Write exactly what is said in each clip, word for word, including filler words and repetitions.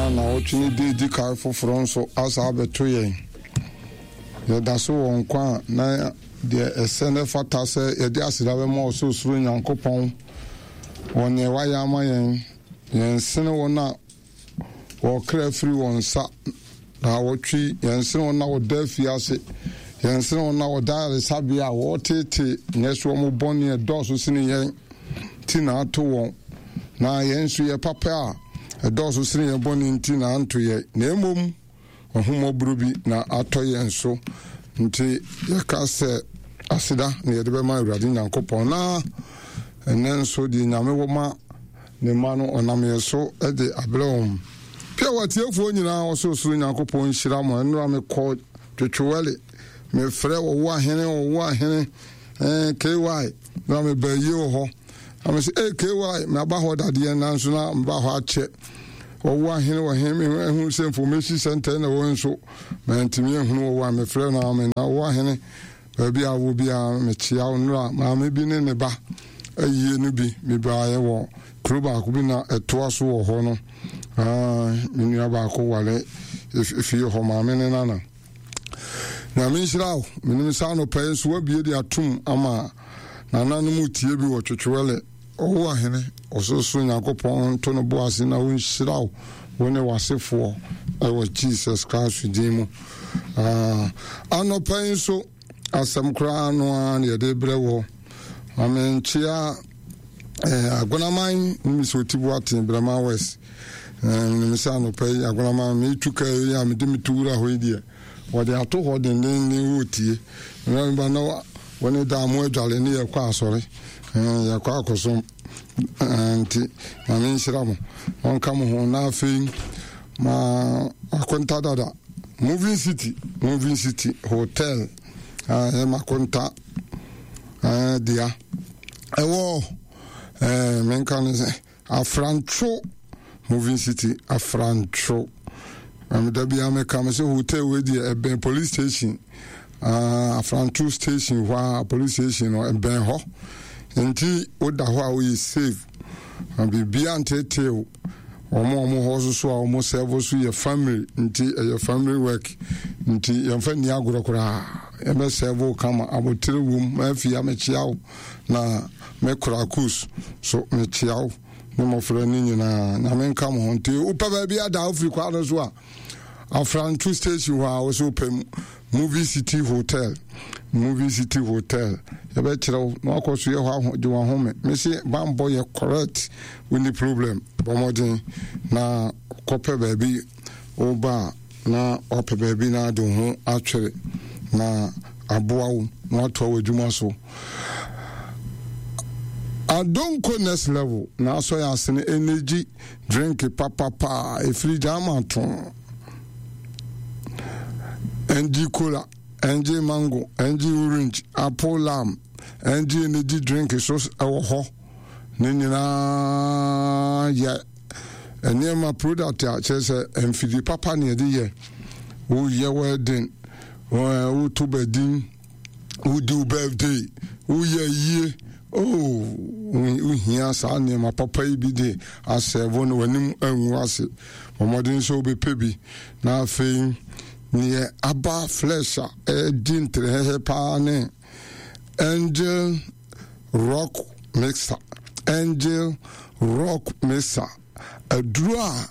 Na nnawɔtwe no da edi kan foforɔ nso asa abɛto yɛn. Yɛda so wɔ nkwa a na deɛ ɛsɛ na ɛfata sɛ yɛde aseda bɛma Ɔsorosoro Nyankopɔn wɔ nea wayɛ ama yɛn. Yɛnsene wɔn a wɔkra firi wɔn nsa naawɔtwe, yɛnsene wɔn a wɔda afiase, yɛnsene wɔn a wɔda ayaresabea a wɔreteetee nyɛ so wɔn bɔne ɛdɔɔso sene yɛn ti na ato wɔn, na yɛn nso yɛ papa a ɛdɔɔso sene yɛn bɔne nti na anto yɛn, na mmom ahummɔborɔ bi na atɔ yɛn so. Nti yɛka sɛ aseda na yɛde bɛma Awurade Nyankopɔn. Na ɛnɛ nso deɛ Nyame wɔ ma ne mma no, ɔnam yɛn so de abrɛ wɔn. Pia wɔ atiefoɔ nyinaa, Ɔsorosoro Nyankopɔn nhyira mo. Ɛnora mekɔ Twetwewɛle, mefrɛ ɔwo ahene, ɔwo ahene eh, K Y na meba yie wɔ hɔ. Na me sɛ, eh, K Y, maba hɔ dadeɛ, nanso na meba hɔ akyɛ. Ɔwo ahene wɔ he? Mehu sɛ information center na wɔ nso mantumi ahunu ɔwo a mefrɛ no ame. Na ɔwo ahene, baabi a wɔ biara, mekyea wo. Nnora maame bi ne ne ba ayie no bi mebaeɛ wɔ kuro baako bi na ɛtoa so wɔ hɔ no. Ah, me nua baako ware fie hɔ, maame ne nana. Nyame nhyira wo. Menim sɛ anɔpa yi nso woabie de atom ama nananom tie bi wɔ Twetwewɛle. Ɔwo ahene, Ɔsorosoro Nyankopɔn nto no bo ase na ɔnhyira wo, wo ne w'asefoɔ ɛwɔ Jesus Christ din mu. Ah, anɔpa yi nso asɛm koraa no ara na yɛde brɛ wɔ. Maame nkyea eh, Agonaman ne Mr Otibu Aten, Brɛma West. Eh, menim sɛ anɔpa yi Agonaman metu kaa yi a mede meto wura hɔ yi deɛ, wɔde ato hɔ dendenden wɔretie. Meba na wɔne daa mo adwale ne yɛkɔ asɔre, eh, yɛkɔ akɔsom. eh, nti Nyame nhyira mo, ɔnka mo ho. Na afei ma Akonta dada Moving City, Moving City Hotel, ɛyɛ Makonta dea ɛwɔ, menka no sɛ Afrantwo. Moving City Afrantwo, da bia meka me sɛ hotel wei deɛ ɛbɛn police station, uh, Afrantwo station hɔ a, police station no ɛbɛn hɔ, nti woda hɔ a woyɛ safe na biribia ntetew. Wɔn a wɔn hɔ soso a wɔn serve so yɛ family, nti ɛyɛ family work, nti yɛmfa nni agorɔ koraa. Yɛbɛ serve kama, abotire wom. Afia, mekyia wo, na mekora kus so mekyia wo ne mmɔfra no nyinaa. Nyame nka mo ho. Nti wopɛ baabi ada, wofiri kwa no so a, Afranto station hɔ a, wo sɛ wopɛ Movie City Hotel, Movie City Hotel, yɛbɛkyerɛ wo na wakɔ so yɛ hɔ gye wahome. Mese bambɔ yɛ correct, wonni problem. Bɔ mmɔden na kɔpɛ baabi woba a, na wapɛ baabi na ade wo ho atwere na aboa wo na watoa w'adwuma so. Adonko Next Level na asɔ yɛ asene energy drink papapa ɛfiri gyama to N G cola, N G mango, N G orange, apple lime, N G energy drink so ɛwɔ hɔ. Ne nyinaa yɛ nneɛma product a kyerɛ sɛ mfidie papa ne yɛde yɛ. Woyɛ wedding, woto badin, wodi wo birthday, woyɛ yie, oh, wohia saa nneɛma papa yi bi de asɛvo no, w'anim angu ase. Mmɔden sɛ wobɛpɛ bi. Na afei neɛ aba flesh a ɛdi ntrɛhɛhɛ paa ne Angel Rock Mixer. Angel Rock Mixer aduro a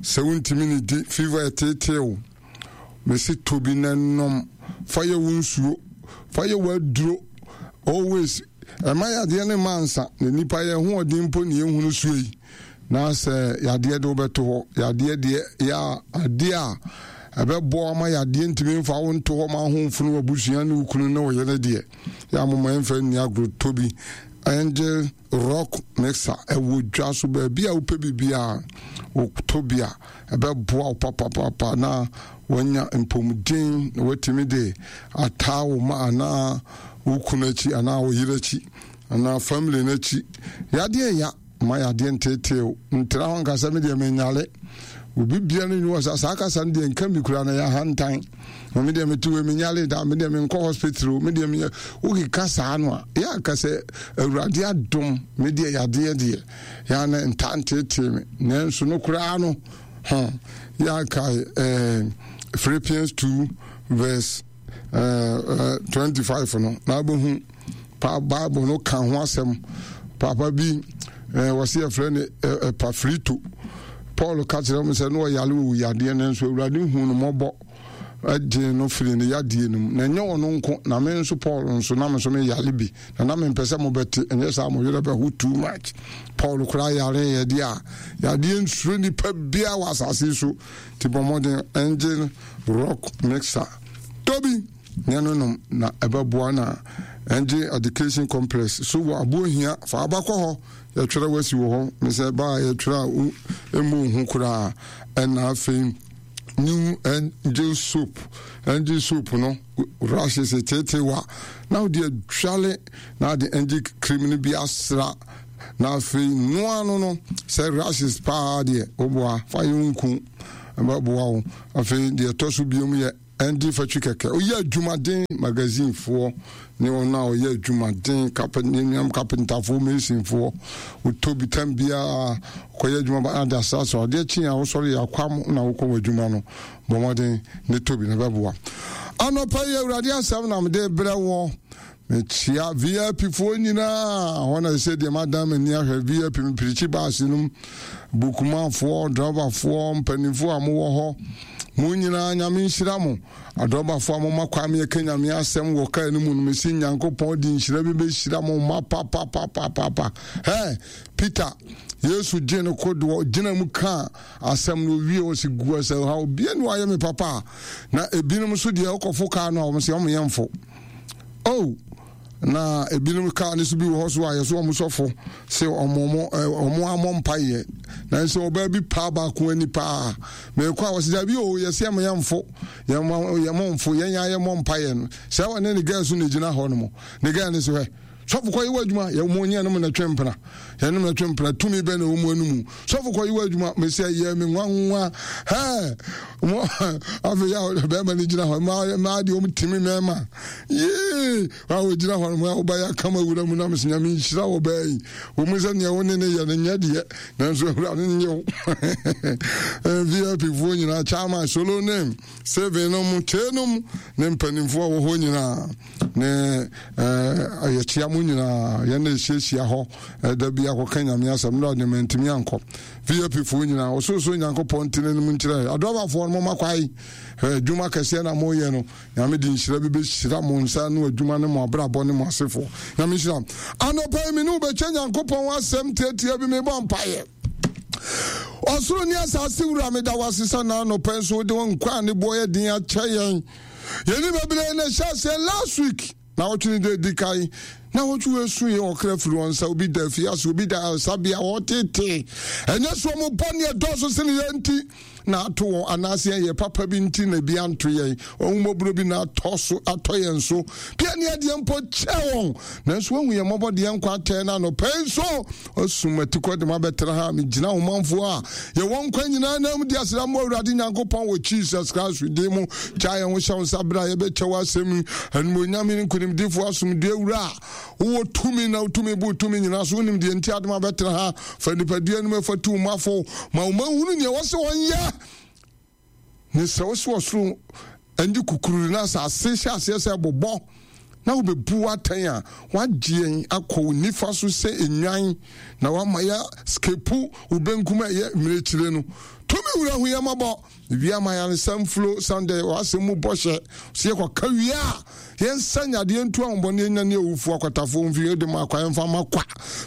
sɛ wontumi ne di, fever ɛteeteew, mesi tobi na nom, fa yɛ wo nsuo, fa yɛ w'aduro always. Ɛma yadeɛ ne ma nsa na nipa yɛ hoɔden mpo ne yɛhunu suo yi. Na sɛ yadeɛ de wobɛto hɔ, yadeɛ deɛ yɛ adeɛ a ɛbɛboa ma yadeɛ ntumi mfa wo nto hɔ ma ahomfo no, wabusua ne wo kunu ne wo yere deɛ, yɛ amoma yɛmfa nni agorɔ. Tobi Angel Rock Mixer ɛwɔ dwa so baabi a wopɛ biribiaa, wotɔ bi a ɛbɛboa wo papapapa na wanya mpɔmuden na watumi de ataa wo ma anaa wo kunu akyi anaa wo yere akyi anaa family no akyi. Yadeɛ ya ma yadeɛ nteetee ntena hɔ nkasa, me deɛ menyale obi bia no nyi wɔ sa saa kasa no deɛ nka mi kura no yɛ ahantan. Na me deɛ mete wei, menyale da, me deɛ menkɔ hospital, me deɛ meyɛ wokeka saa no a, yɛ aka sɛ Awurade adom, me deɛ yadeɛ deɛ yɛana ntaa nteetee me, nanso no koraa no Ho yɛakae eh, Philippians two verse eh, eh, twenty-five no na wobɛhu pa Bible no ka ho asɛm. Papa bi eh, wɔse yɛfrɛ no eh, Epafrito. Paul ka kyerɛ m sɛ na ɔyare wɔ wuyadeɛ no nso Awurade hu no mmɔbɔ gyee no firi ne yadeɛ no mu. Na ɛnyɛ ɔno nko, na me nso Paul nso na me nso meyare bi, na na mempɛ sɛ mobɛte, ɛnyɛ saa mo werɛ bɛho too much. Paul koraa yareeɛ deɛ a, yadeɛ nsuro nipa biara wɔ asase so, nti bɔ mmɔden engine rock mixer tobi ne no nom na ɛbɛboa. Na Engine Education Complex so wɔ Abohia, fa aba kɔ hɔ, yɛtwerɛ wasi wɔ hɔ, mesɛ baa yɛtwerɛ a ɛmmɔ hu koraa. Ɛna afei new angel soap, angel soap no rashes tetewa na wode adwale na ade angel cream no bi asra na afei noa no no sɛ rashes paa deɛ woboa fa yɛ nku ɛbɛboa wo. Afei deɛ ɛtɔ so biom yɛ ɛndi fatwi kɛkɛ ɔyɛ adwumaden magazinefoɔ ne wɔn a ɔyɛ adwumaden kapɛ ne nuam kapentafoɔ, masonfoɔ, wotɔ bi tam biara kɔyɛ adwuma ba ade asrasra adeɛ kye a wosɔre yɛ akwam na wokɔ wɔ adwuma no, bɔ mmɔden ne tɔ bi na bɛboa. Anɔpa yi Awurade asɛm na mede brɛ wɔ. Mekyia V I P foɔ nyinaa hɔ na sɛ deɛ madan m'ani ahwɛ V I P mepirikyi baase nom, bukumafoɔ, drɔbafoɔ, mpanimfoɔ a mowɔ hɔ, mo nyinaa Nyame nhyira mo. Adrɔbafoɔ a moma kwan meyɛka Nyame asɛm wɔ kaa no mu no, mesi Nyankopɔn de nhyira bi bɛhyira mo ma papapapapapa. Ɛ Peter, Yesu gye no kodoɔ gyina mu kaa asɛm no owie, wɔ sɛ gu sɛ ha obia ne wayɛ me papa. Na ebinom nso deɛ wokɔfo kaa no a, wɔn sɛ wɔn yɛ mfo oh, na ebinom kaa no so bi wɔ hɔ so a yɛso wɔn sɔfo sɛ ɔmo ɔmo amɔ mpaeɛ, nanso ɔbaa bi paa baako ani paa mɛkɔ a wɔsɛ dabi o, yɛsɛ yɛn yɛn mfo, yɛn mo yɛn mo mfo, yɛn yɛn ayɛ mɔ mpaeɛ no sɛ ɔne ne girl so na egyina hɔ nom, ne girl no so hɛ sɔfo kɔ yi wɔ adwuma, yɛn mo nyɛ no mo na twɛ mpena, yɛn mo na twɛ mpena, tumi bɛ na ɛwɔ mu anum, sɔfo kɔ yi wɔ adwuma, mɛsɛ yɛ mi nwanwa hɛ mo. Afei yɛ bɛrima no gyina hɔ, mmaa mmaa deɛ wɔn timi mɛɛma yee a wɔgyina hɔ nom a wɔbɛyɛ akama wura mu nam sɛ Nyame nhyira wɔ bɛɛ yi wɔn mu sɛ nea wɔne ne yɛ no nyɛ deɛ, nanso Awurade nyɛ wo. V I P foɔ nyinaa, chairman solo name seven no mu kyee no mu ne mpanimfoɔ a wɔ hɔ nyinaa ne ɛɛ yɛkyia mo nyinaa. Yɛn na ehyiahyia hɔ ɛda bi akɔka Nyame asɛm na ɔde mɛntumi ankɔ. V I P foɔ nyinaa, ɔsorosoro Nyankopɔn ntene no mu nkyerɛ. Adɔbafoɔ no, moma kwae adwuma kɛseɛ na moyɛ no, Nyame de nhyira bi bɛhyira mo nsa no adwuma ne mo abrabɔ ne mo asefoɔ. Nyame nhyira. Anɔpa yi me ne wobɛkyɛ Nyankopɔn asɛm tiatia bi. Mebɔ mpayɛ. Ɔsoro ne asase wura, meda wo ase sɛ na anɔpa nso wode wo nkwa a ne boɔ yɛ den akyɛ yɛn. Yɛni bebree na ɛhyɛ aseɛ last week na wɔtwe ne de di kan na wɔtwe wɔ esu yɛ ɔkra firi wɔn nsa, obi da afiase, obi da asabea, wɔtete ɛnyɛ so wɔn bɔ ne ɛdɔɔso sene yɛn nti na ato wɔn, anaasɛ yɛn yɛ papa bi nti na ebi anto yɛn, ɔhumɔborɔ bi na atɔ so atɔ yɛn so bia ne adeɛ mpo kyɛ wɔn, nanso wɔn yɛn mmɔbɔ deɛ nkwa atɛn na anɔpɛ nso ɔsum atikɔ de ma bɛtena ha. Megyina ɔmanfoɔ a yɛwɔ nkwa nyinaa nam di aseda mmɔ Awurade Nyankopɔn wɔ Jesus Christ din mu. Gya yɛn ho hyɛ wo nsa berɛ a yɛbɛkyɛ wɔ asɛm animonyam ne nkonimdifoɔ asomdue wura a wowɔ tumi na wotumi bu tumi nyinaa so, wonim deɛ nti adom abɛtena ha. Fa nipadua no mu ɛfa tu mafo ma wo mahunu neɛ wɔ sɛ wɔnyɛ ne sɛ wo sɛ ɔsoro ɛngye kukuru na asase hyɛ aseɛ sɛ bobɔ na wobɛbu atɛn a wagye yɛn akɔ wo nifa so sɛ nnwan na wama yɛ skepu wo benkum a ɛyɛ mmirekyire no. Tumi wura, hu yɛ mmɔbɔ. Wia ma yɛnsa mfulo sande w'asɛm mu bɔhyɛ sɛ yɛkɔka wie a yɛnsa nyadeɛ ntu ahombɔne anya ne awufoɔ akwatafoɔ mfi de ma akwa yɛmfa ma kwa.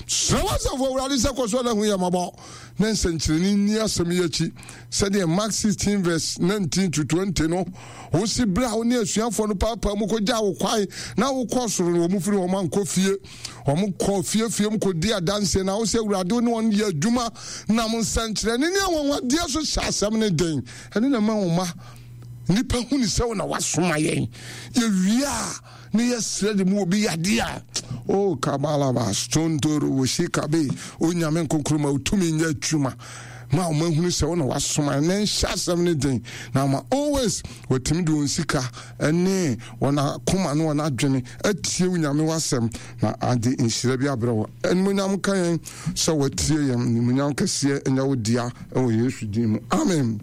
Srɛ w'asafo Awurade sɛ kɔ so ada hu yɛ mmɔbɔ na nsɛnkyerɛnne nni asɛm yi akyi sɛdeɛ Mark sixteen verse nineteen to twenty no wosi berɛ a wo ne asuafoɔ no paapaa mu kɔgyaa wo kwae na wokɔ soro no, wɔn firi wɔn ankɔ fie, wɔn kɔ fiefie mu kɔdi adanseɛ na wo sɛ Awurade wo ne wɔn yɛ adwuma nam nsɛnkyerɛnne ne anwanwadeɛ so hyɛ asɛm ne den. Ɛne na ma wo ma nnipa hu ne sɛ wo na wasoma yɛn. Yɛwie a ne yɛsrɛ de mu obi yadeɛ a o kabalaba stontoro wosi kabe. Onyame nkonkron ma wotumi nyɛ adwuma. Ma wɔn ahunu sɛ wo na wasoma ne nhyɛ asɛm no den, na ama always wɔtumi de wɔn sika ne wɔn akoma ne wɔn adwene atie wo Nyame w'asɛm, na ade nhyira bi abrɛ wɔ. Animonyam ka yɛn sɛ wɔatie yɛn. Animonyam kɛseɛ nyɛ wo dea wɔ Yesu din mu, amen.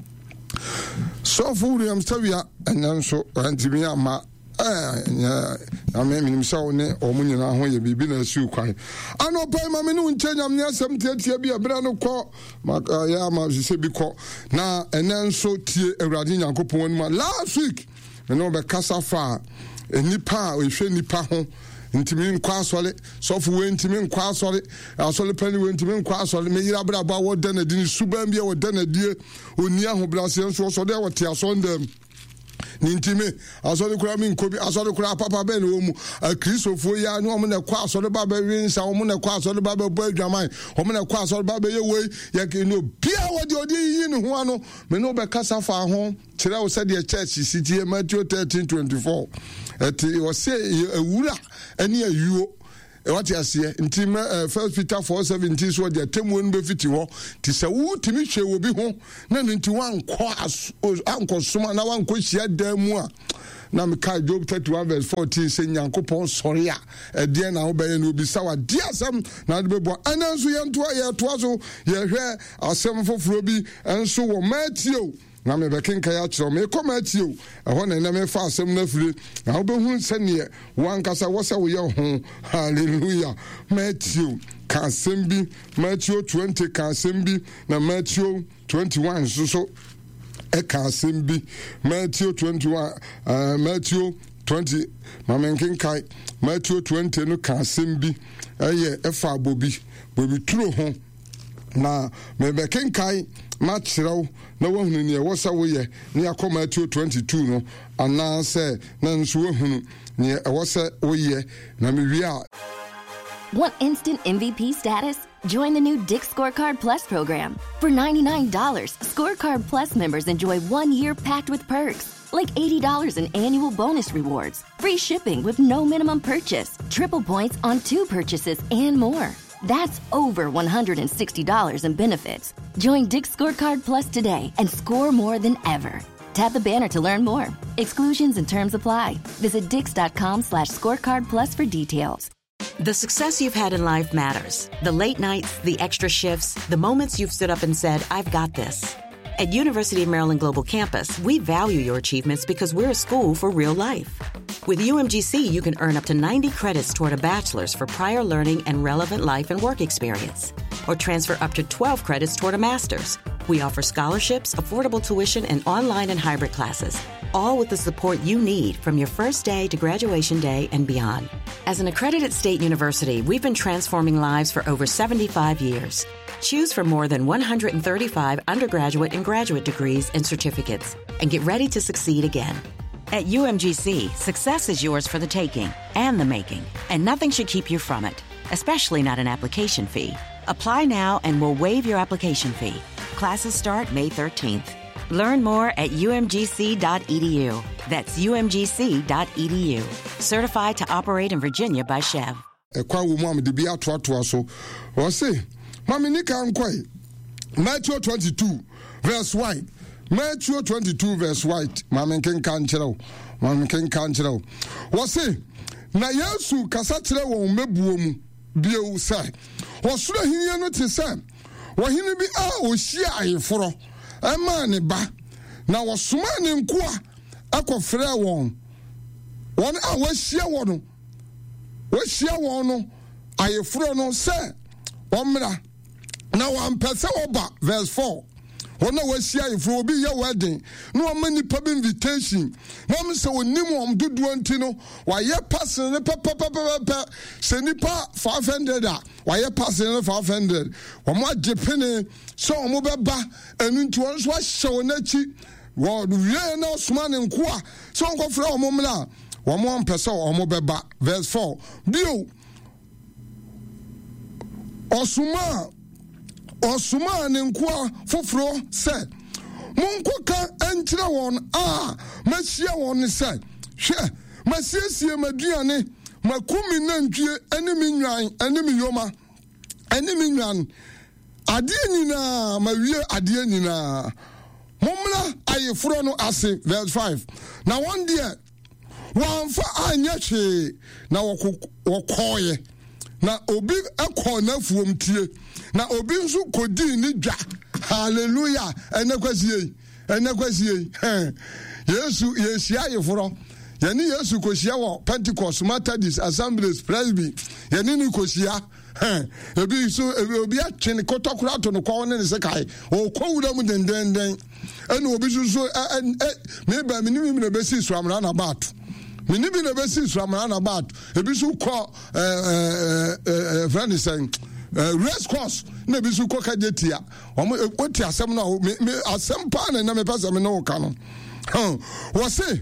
Sɔfo William Sawia ɛnɛ nso ntumi ama. Nyame, menim sɛ wo ne ɔmo nyinaa ho yɛ biribi na asiw kwan. Anɔpa yi, ma me ne wo nkyɛ Nyame asɛm tiatia bi a berɛ no kɔ yɛ ama sɛ bi kɔ. Na ɛnɛ nso tie Awurade Nyankopɔn anim a last week me ne wobɛkasa fa a nnipa a ɛhwɛ nnipa ho ntumi nkɔ asɔre. Sɔfo wei ntumi nkɔ asɔre, asɔre pani wei ntumi nkɔ asɔre, meyere abrabɔ a wɔda n'adi ne suban bi a wɔda n'adie, ɔnni ahobrɛaseɛ nso ɔsɔre a wɔte asɔndam ne nti me asɔre koraa mi nkɔ bi. Asɔre koraa papa bɛn na wɔn mu? Akristofoɔ yi a ne wɔn na ɛkɔ asɔre ba bɛwe nsa, wɔn na ɛkɔ asɔre ba bɛbɔ adwaman, wɔn na ɛkɔ asɔre ba bɛyɛ wei. Yɛ ne obiara wɔde ɔde yiyi ne ho ano. Me ne wɔbɛkasa fa ho kyerɛ wo sɛdeɛ church si tie. Matthew thirteen twenty four, ɛte ɔsɛ ewura ɛne ayuo, wate aseɛ? Nti mɛ First Peter four seventeen so ɔde atemmuo no bɛfiti hɔ. Nti sɛ wotumi hwɛ wɔ bi ho na no nti wankɔ ankɔ soma na wankɔ hyia dan mu a, na meka Job thirty-one verse fourteen sɛ Nyankopɔn sɔre a, ɛdeɛn na wobɛyɛ? No obisa wa di asɛm na wode bɛboa. Ɛnɛ nso yɛntoa, yɛtoa so, yɛhwɛ asɛm foforɔ bi nso wɔ Matthew, na mebɛkenkan akyerɛ wo. Mekɔ Matthew ɛhɔ na ɛnɛ mefa asɛm no afiri, na wobɛhunu sɛneɛ wankasa wɔ sɛ woyɛ ho. Hallelujah. Matthew ka asɛm bi, Matthew twenty ka asɛm bi, na Matthew twenty-one nso so ɛka asɛm bi. Matthew twenty-one, uh, Matthew twenty, ma menkenkae. Matthew twenty no ka asɛm bi, ɛyɛ ɛfa bobi bobi turo ho, na mebɛkenkae makyerɛw na woahunu neɛ ɛwɔ sɛ woyɛ, ne akɔ Matthew twenty-two no, anaasɛ na nso woahunu neɛ ɛwɔ sɛ woyɛ, na mewie a. Want instant M V P status? Join the new Dick's Scorecard Plus program. For ninety-nine dollars, Scorecard Plus members enjoy one year packed with perks, like eighty dollars in annual bonus rewards, free shipping with no minimum purchase, triple points on two purchases, and more. That's over one hundred sixty dollars in benefits. Join Dick's Scorecard Plus today and score more than ever. Tap the banner to learn more. Exclusions and terms apply. Visit dicks dot com slash scorecard plus for details. The success you've had in life matters. The late nights, the extra shifts, the moments you've stood up and said, "I've got this." At University of Maryland Global Campus, we value your achievements because we're a school for real life. With U M G C, you can earn up to ninety credits toward a bachelor's for prior learning and relevant life and work experience, or transfer up to twelve credits toward a master's. We offer scholarships, affordable tuition, and online and hybrid classes, all with the support you need from your first day to graduation day and beyond. As an accredited state university, we've been transforming lives for over seventy-five years. Choose from more than one hundred thirty-five undergraduate and graduate degrees and certificates, and get ready to succeed again. At U M G C, success is yours for the taking and the making, and nothing should keep you from it, especially not an application fee. Apply now and we'll waive your application fee. Classes start May thirteenth. Learn more at U M G C dot E D U. That's U M G C dot E D U. Certified to operate in Virginia by SCHEV. Ɛkwan wɔ mu a mede bi atoatoa so. Ɔse ma me nika nkɔe Matthew twenty-two verse one, Matthew twenty-two verse one. Ma me nkenka nkyerɛ wo, ma me nkenka nkyerɛ wo. Wɔse na Yesu kasa kyerɛ wɔn mɛbuo mu bio sɛ, ɔsoro ahenni no te sɛ ɔhene bi a ɔhyia ayeforɔ ɛmaa ne ba, na wɔsomaa ne nkoa ɛkɔfrɛɛ wɔn wɔn a wɔahyia wɔ no wɔahyia wɔn no ayeforɔ no sɛ wɔmmra, na wɔampɛ sɛ wɔba. Verse four, wɔn a wɔahyia ayeforɔ, obi yɛ wedding na wɔma nipa bi invitation, na wɔn sɛ onim wɔn dodoɔ nti no, wɔayɛ parcel no pɛpɛpɛpɛpɛ. Sɛ nipa five hundred a, wɔayɛ parcel no five hundred. Wɔn agye pene sɛ wɔn bɛba. Ɛnu nti wɔn nso ahyɛ wɔn akyi. Wɔ wie na ɔsoma ne nkoa sɛ wɔn kɔfrɛ wɔn mmra, wɔn ampɛ sɛ wɔn bɛba. Verse four, bio ɔsoma ɔsomaa ne nkoa foforɔ sɛ, "Monkɔka nkyerɛ wɔn a mahyia wɔn ne sɛ, hwɛ, masiesie m'aduane, maku me nantwie ne me nwan ne me yoma ne me nwan Adeɛ nyinaa mawie adeɛ nyinaa. Mommra ayeforɔ no ase. Verse five. Na wɔn deɛ wɔamfa anyɛ hwee na wɔkɔɔeɛ. Na obi kɔɔ n'afuom tie, na obi nso kɔdii ne dwa. Hallelujah. Ɛnɛ kwasie yi, ɛnɛ kwasie yi. Yesu yɛhyia ayeforɔ. Yɛne Yesu kɔhyia wɔ Pentecost, Methodist, Assemblies, Presby. Yɛne no kɔhyia. Ebi nso obi atwe ne kɔtɔkora ato no kɔn ne ne sekae. Ɔkɔ wura mu dendenden. Ɛna obi nso so ɛ ɛ meba me ne bi na bɛsi suamra na baat. Me ne bi na bɛsi suamra na baat. Ebi nso kɔ ɛɛ ɛɛ ɛfrɛ ne sɛn ɛɛ race course na ebi nso kɔ kagye tia. Wɔn wote asɛm no a me me asɛm paa na ɛna mepɛ sɛ me ne wo ka no. Wɔse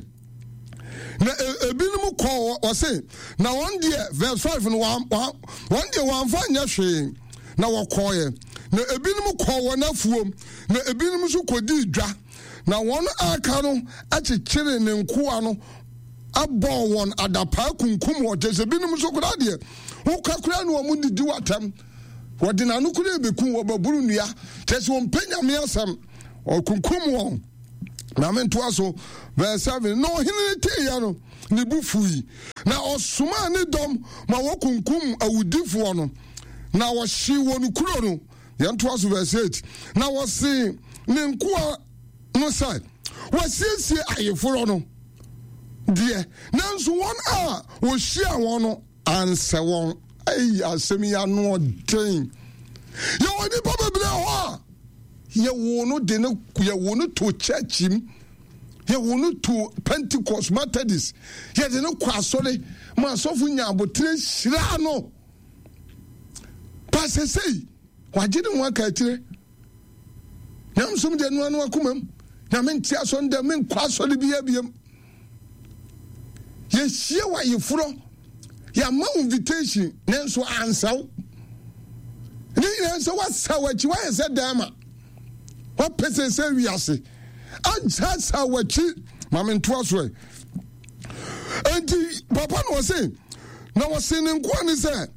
na ebinom kɔ wɔse na wɔn deɛ verse five no wɔn wɔn deɛ wɔamfa nyɛ hwee na wɔkɔɔeɛ na ebinom kɔɔ wɔn afuom na ebinom nso kɔdii dwa na wɔn aka no akyekyere ne nkoa no abɔɔ wɔn adapaa kunkum wɔn kyɛ sɛ ebinom nso koraa deɛ woka koraa ne wɔn didi w'atɛm wɔde n'ano koraa bɛku wɔbɛboro nnua kyɛ sɛ wɔmpɛ Nyame asɛm ɔkunkum wɔn. Na mentoa so verse seven. Na ɔhene no teeɛ no, ne bo fui, na ɔsomaa ne dɔm ma wɔkunkum awudifoɔ no, na wɔhyee wɔn kuro no. Yɛntoa so verse eight. Na wɔsee ne nkoa no sɛ, wɔasiesie ayeforɔ no deɛ, nanso wɔn a wɔhyiaa wɔn no ansɛ wɔn. Ayi asɛm yi ano ɔden. Yɛwɔ nnipa bebree hɔ a yɛwoo no de no yɛwoo no to church mu, yɛwoo no to Pentecost, Methodist, yɛde no kɔ asɔre ma asɔfo nya abotere hyira no. Pasesei wagye ne ho aka akyire. Nyamsom deɛ noa no akoma mu. Nyame nte asɔre dɛ menkɔ asɔre biara biam. Yɛhyia wɔ ayeforɔ, yɛama wo invitation nanso ansa wo. Ne nyinaa sɛ woasa w'akyi, woayɛ sɛ dɛɛma, woapɛ sɛ sɛ wiase agyasa w'akyi. Ma mentoa so ɛ. Enti papa na ɔse, na wɔse ne nkoa ne sɛ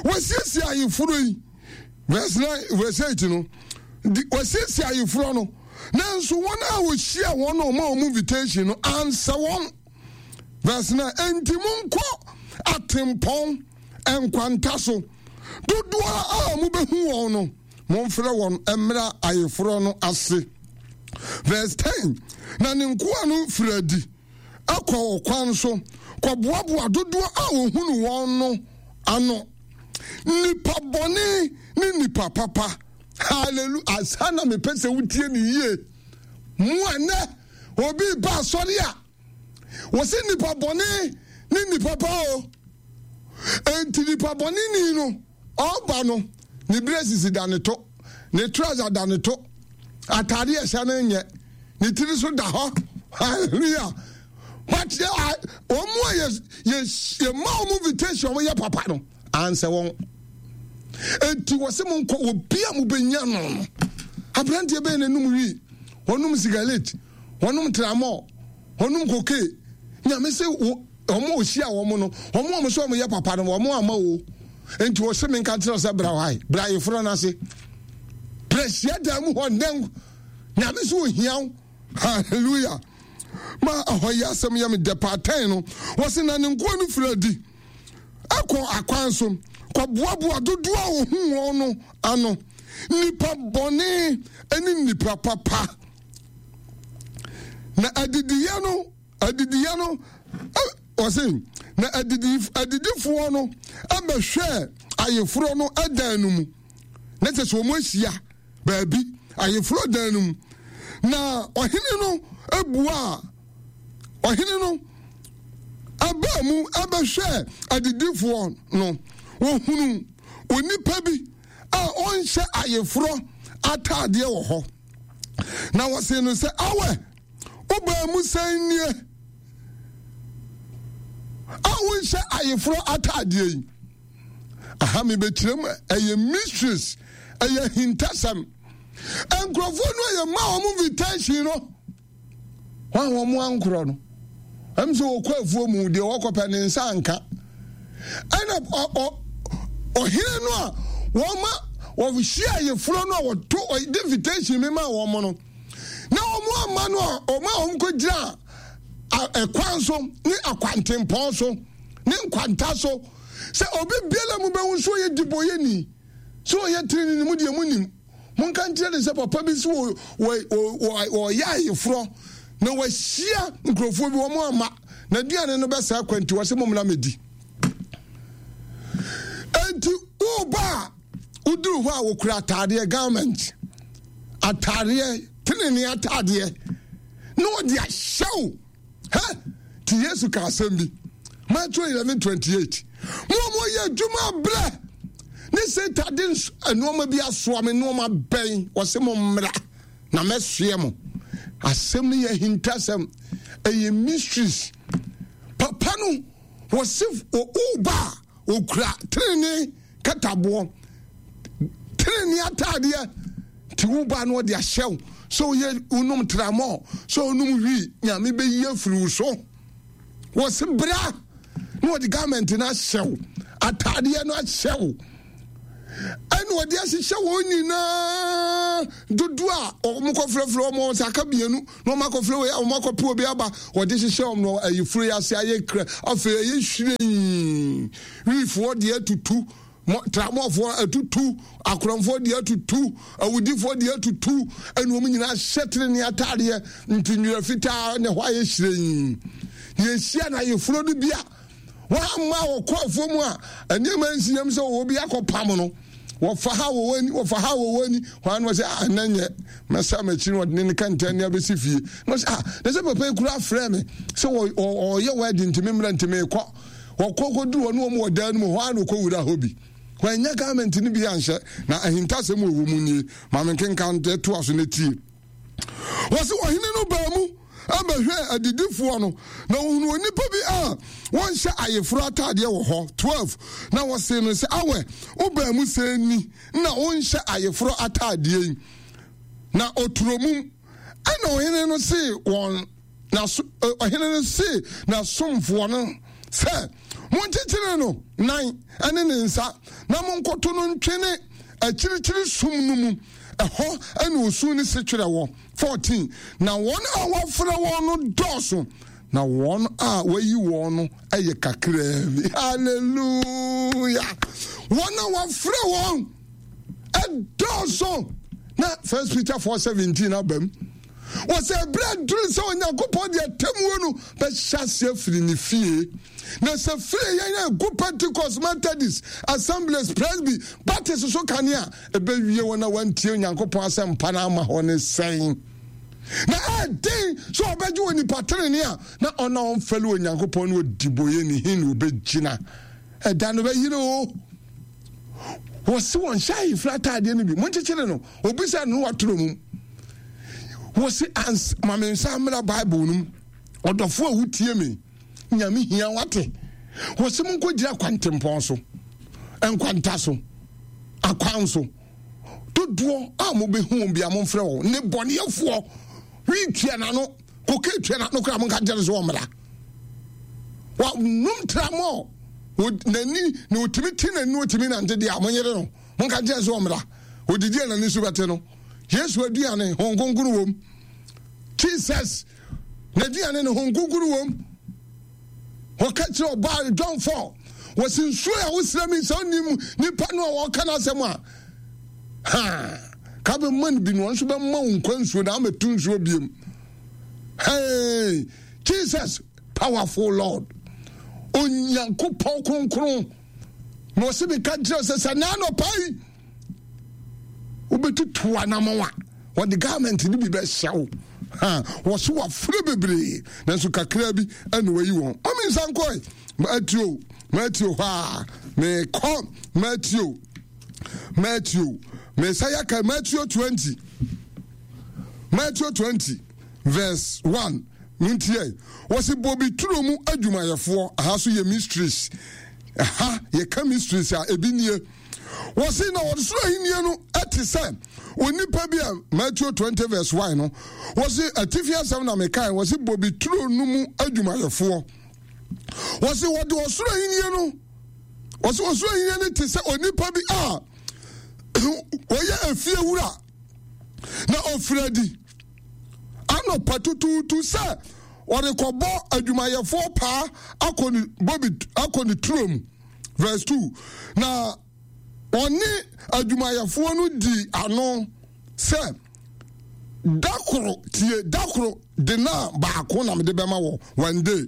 wɔasiesie ayeforɔ yi. Verse nine, verse eight no, wɔasiesie ayeforɔ no, nanso wɔn a wɔhyia wɔn na wɔma wɔn invitation no ansɛ wɔn. Verse nine, enti monkɔ atempɔn nkwanta so, dodoɔ a mobɛhu wɔn no, momfrɛ wɔn mmra ayeforɔ no ase. Verse ten, na ne nkoa no firi adi kɔ ɔkwan so kɔboaboa dodoɔ a wɔhunu wɔn no ano, nipa bɔne ne nipa papa. Hallelujah. Asa na mepɛ sɛ wotie ne yie. Mo a nnɛ obi ba asɔre a wɔsɛ nipa bɔne ne nipa pa o. Enti nipa bɔne ni no ɔba no ne braces da ne to, ne trouser da ne to, atade a ɛhyɛ no nyɛ, ne tiri so da hɔ. Hallelujah. But wɔn a yɛ yɛ yɛ ma wɔn invitation wɔn yɛ papa no ansɛ wɔn. Enti wɔsɛ mo nkɔ obi a mo bɛ nya no no. Aberanteɛ bɛyɛ n'anum wi, wɔnom sigaret, wɔnom tramɔ, wɔnom koke. Nyame sɛ wɔn a wɔhyia wɔn no, wɔn a wɔn sɛ wɔn yɛ papa no, wɔn ama o. Enti wɔsɛ me nka kyerɛ sɛ bra hɔ ayi, bra ayeforɔ no ase, bra hyia dan mu hɔ nnɛ. Nyame sɛ ohia wo. Hallelujah. Ma ɛhɔ yi asɛm yɛ me dɛ paatɛn no. Wɔse na ne nkoa no firi adi ɛkɔ akwan so kɔboaboa dodoɔ a wɔhu wɔn no ano, nipa bɔne ne nipa papa. Na adidiyɛ no adidiyɛ no wɔse na adidi adidifoɔ no ɛbɛhwɛɛ ayeforɔ no ɛdan no mu, na kyɛ sɛ wɔn ahyia baabi ayeforɔ dan no mu. Na ɔhene no buaa ɔhene no ɛbaa mu ɛbɛhwɛɛ adidifoɔ no, wɔhunu onipa bi a ɔnhyɛ ayeforɔ ataadeɛ wɔ hɔ. Na wɔsee no sɛ, awɛ, wobaa mu sɛn nie a wonhyɛ ayeforɔ ataadeɛ yi? Aha mebɛkyerɛ mu, ɛyɛ mysteries, ɛyɛ ahintasɛm. Nkurɔfoɔ no a yɛma wɔn invitation no, wɔn a wɔn ankorɔ no, ɛm sɛ wɔkɔ afuo mu deɛ wɔkɔpɛ ne nsa anka. Ɛna ɔhene no a wɔma Wɔhyia ayeforɔ no a wɔto ɔde invitation mi ma wɔn no, na wɔn ama no a wɔn a wɔn kɔgyina ɛkwan so ne akwantempɔn so ne nkwanta so sɛ obi biara mu bɛhu so ɔyɛ dibɔyɛni sɛ ɔyɛ tirini ne mu deɛ mu nim. Monka nkyerɛ ne sɛ papa bi so wɔyɛ ayeforɔ na wɔahyia nkurɔfoɔ bi wɔn ama na aduane no bɛsɛ akwanti wɔ sɛ mommra mɛdi. Enti woba a woduru hɔ a wɔkura ataadeɛ garment ataadeɛ tenene ataadeɛ na wɔde ahyɛ wo. Hɛ nti Yesu ka asɛm bi Matthew eleven twenty eight mo a moyɛ adwuma brɛ ne Satan de nneɛma bi asoa me nneɛma bɛn wɔsɛ mo mmra na mɛsoɛ mo. Asɛm no yɛ ahintasɛm, ɛyɛ mysteries. Papa no wɔse woba a wɔkura tenene kataboɔ tenene ataadeɛ nti woba no wɔde ahyɛ wo sɛ woyɛ wonom tramɔ sɛ wonom wii Nyame bɛyi afiri wo so. Wɔse bra na wɔde garment no ahyɛ wo, ataadeɛ no ahyɛ wo, ɛna wɔde ahyehyɛ wɔn nyinaa dodoɔ a wɔn kɔfrɛfrɛ wɔn sɛ aka mmienu na wɔn akɔfrɛ wei a wɔn akɔpɛ obi aba wɔde hyehyɛ wɔn no ayifuro yi ase ayɛ kra afei ɛyɛ hyerɛn wiifoɔ deɛ atutu tramɔfoɔ atutu akorɔmfoɔ deɛ atutu awudifoɔ deɛ atutu ɛna wɔn nyinaa hyɛ tenene ataadeɛ nti nwera fitaa na ɛhɔ ayɛ hyerɛn. Yɛhyia na ayeforo no bi a wɔama wɔkɔ afuo mu a nneɛma nsi yam sɛ wɔwɔ bi akɔpam no wɔfa ha wɔwɔ ani wɔfa ha wɔwɔ ani wɔn ano sɛ ah ɛnɛ nyɛ mɛsa m'akyi no wɔde ne ne kɛntɛn ne abɛsi fie na ɔsɛ ah na sɛ papa yi kura afrɛ me sɛ ɔyɛ wɛdi ntumi mmerɛ ntumi kɔ wɔkɔ kɔduru hɔ ne wɔn wɔ dan no mu hɔ a na ɔkɔ wura hɔ bi wɔanya garment no bi anhyɛ na ahintasɛm wɔ wɔ mu nie maame nkenkan toa so ne tie. Wɔsi ɔhene no baa mu bɛhwɛɛ adidifoɔ no, na wɔhunu onipa bi a wɔnhyɛ ayeforɔ ataadeɛ wɔ hɔ. twelve na wɔsee no sɛ, awɛ, wobaa mu sɛ ni na wonhyɛ ayeforɔ ataadeɛ yi? Na ɔturo mum. Ɛna ɔhene no see wɔn n'aso ɔhene no see n'asomfoɔ no sɛ, monkyekyere no nan ne ne nsa na monkɔto no ntwene akyirikyiri sum no mu, ɛhɔ ɛna osu ne setwerɛ wɔ. fourteen na wɔn a wɔafrɛ wɔn no dɔɔso, na wɔn a wɔayi wɔn no yɛ kakraa bi. Hallelujah! Wɔn a wɔafrɛ wɔn ɛdɔɔso. Na First Peter four seventeen abam. Wɔsɛ ɛberɛ aduru sɛ Onyankopɔn de atemmuo no bɛhyɛ aseɛ afiri ne fie. Na sɛ firi yɛn a ɛgu Pentecost, Methodist, Assemblies, Presby, Baptist so kane a, ɛbɛwie wɔn a wɔantie Onyankopɔn asɛmpa no ama hɔ ne sɛn? Na ɛden sɛ ɔbɛgye wɔ nipa tenene a na ɔna ɔmfɛle Onyankopɔn ne ɔdiboyɛ ne he na ɔbɛgyina. Ɛda no bɛyere o. Wɔse wɔn hyɛ ayefra ataadeɛ no bi, monkyekyere no, obisa no watoro mu. Wɔse ans ma me nsa mmra Bible no mu. Ɔdɔfo a wotie me, Nyame hia wate. Wɔse monkɔgyina kwantempɔn so, nkwanta so, akwan so. Dodoɔ a mobɛhu wɔn bia momfrɛ wɔn ne bɔneɛfoɔ. Wi tua n'ano, koke tua n'ano koraa monka nkyerɛ no sɛ wɔmmra. Wɔnom tramɔ n'ani na otumi te n'ani otumi nante deɛ a monyere no monka nkyerɛ sɛ ɔmmra. Odidi a n'ani so bɛte no. Yesu aduane Honhom Kronkron wom. Jesus n'aduane no Honhom Kronkron wom. Wɔka kyerɛ ɔbaa John four wɔsi nsuo a wosrɛ mi sɛ ɔnim nipa no a wɔka n'asɛm a ha ka bɛma no bi no ɔno nso bɛma wo nkwa nsuo na amɛto nsuo biem. Hey, Jesus, powerful Lord, Onyankopɔn kronkron na ɔsi mi ka kyerɛ sɛ sɛ n'anɔpa yi wobɛtutu anamɔn a wɔde garment no bi bɛhyɛ wo. Ha wɔso wafrɛ bebree nanso kakra bi ɛna wayi wɔn. Ɔmi nsa nkɔe Matthew Matthew hɔ a mekɔ Matthew Matthew mesa yɛka Matthew twenty Matthew twenty verse one ntiɛ wɔsi bobi turo mu adwumayɛfoɔ. Aha so yɛ mysteries. Aha yɛka mysteries a ebi nie. Wɔsi na wɔde soro ahenni no ɛte sɛ onipa bi a Matthew twenty verse one no wɔsi atifi asɛm na mekae wɔsi bobi turo no mu adwumayɛfoɔ. Wɔsi wɔde ɔsoro ahenni no wɔsi ɔsoro ahenni no te sɛ onipa bi a Ɔyɛ efie wura na ɔfiri adi anɔpa tutuutu sɛ ɔrekɔbɔ adwumayɛfoɔ paa akɔ ne bobi akɔ ne turo mu. Verse two. Na ɔne adwumayɛfoɔ no di ano sɛ da koro tie da koro de na baako na mede bɛma wɔ one day.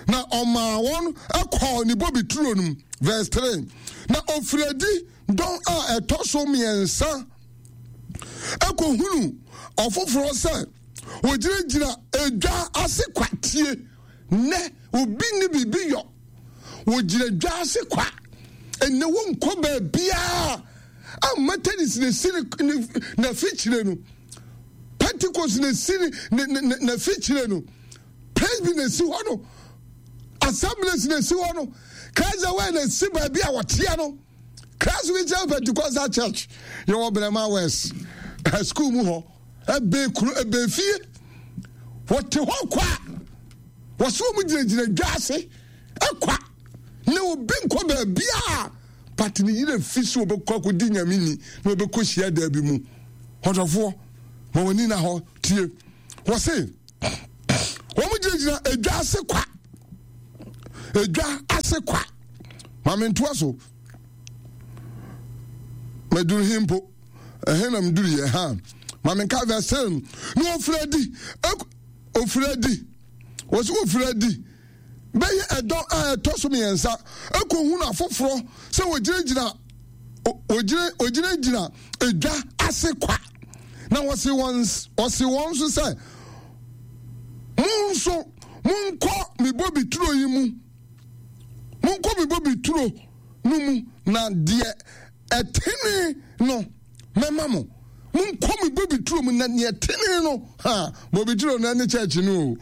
Na ɔmaa wɔn kɔɔ ne bobi turo no mu. Verse three. Na ɔfiri adi dɔn a ɛtɔ so mmiɛnsa ɛkɔhunu ɔfoforɔ sɛ wɔgyinagyina edwa ase kwa. Tie nnɛ obi ne biribi yɔ wɔgyina dwa ase kwa. Ɛnɛ wonkɔ baabiaa a Methodist na esi n'afikyire no, Pentecost na esi n'afikyire no, Presby na esi hɔ no, Assemblies na esi hɔ no, Christ the Way na esi baabi a wɔteɛ no, Christ Mission Pentecostal Church yɛwɔ Brɛma West school mu hɔ, ɛbɛn kuro ɛbɛn fie, wɔte hɔ kwa, wɔso wɔn gyinagyina dwa ase ɛkwa na obi nkɔ baabi a but ne yere fi so ɔbɛkɔ akɔdi nyame ni na ɔbɛkɔ hyia daa bi mu. Ɔdɔfoɔ ma wɔn ani na hɔ tie. Wɔse wɔn gyinagyina edwa ase kwa, edwa ase kwa. Maame ntoa so mɛduru he mpo ɛhe na mduru yɛ ha. Maame nka verse ten na ofiri adi ofiri adi wɔsi ofiri adi bɛyɛ ɛdɔn a ɛtɔ so mmiɛnsa ekohunu afoforɔ sɛ wɔgyinagyina wɔgyina wɔgyinagyina edwa ase kwa. Na wɔsi wɔn wɔsi wɔn nso sɛ mo nso monkɔ me bobi turo yi mu, monkɔ me bobi turo no mu, na deɛ ɛtene no mɛma mo. Monkɔ me bobi turo mu na deɛ ɛtene no, ha bobi turo no ɛne church no o,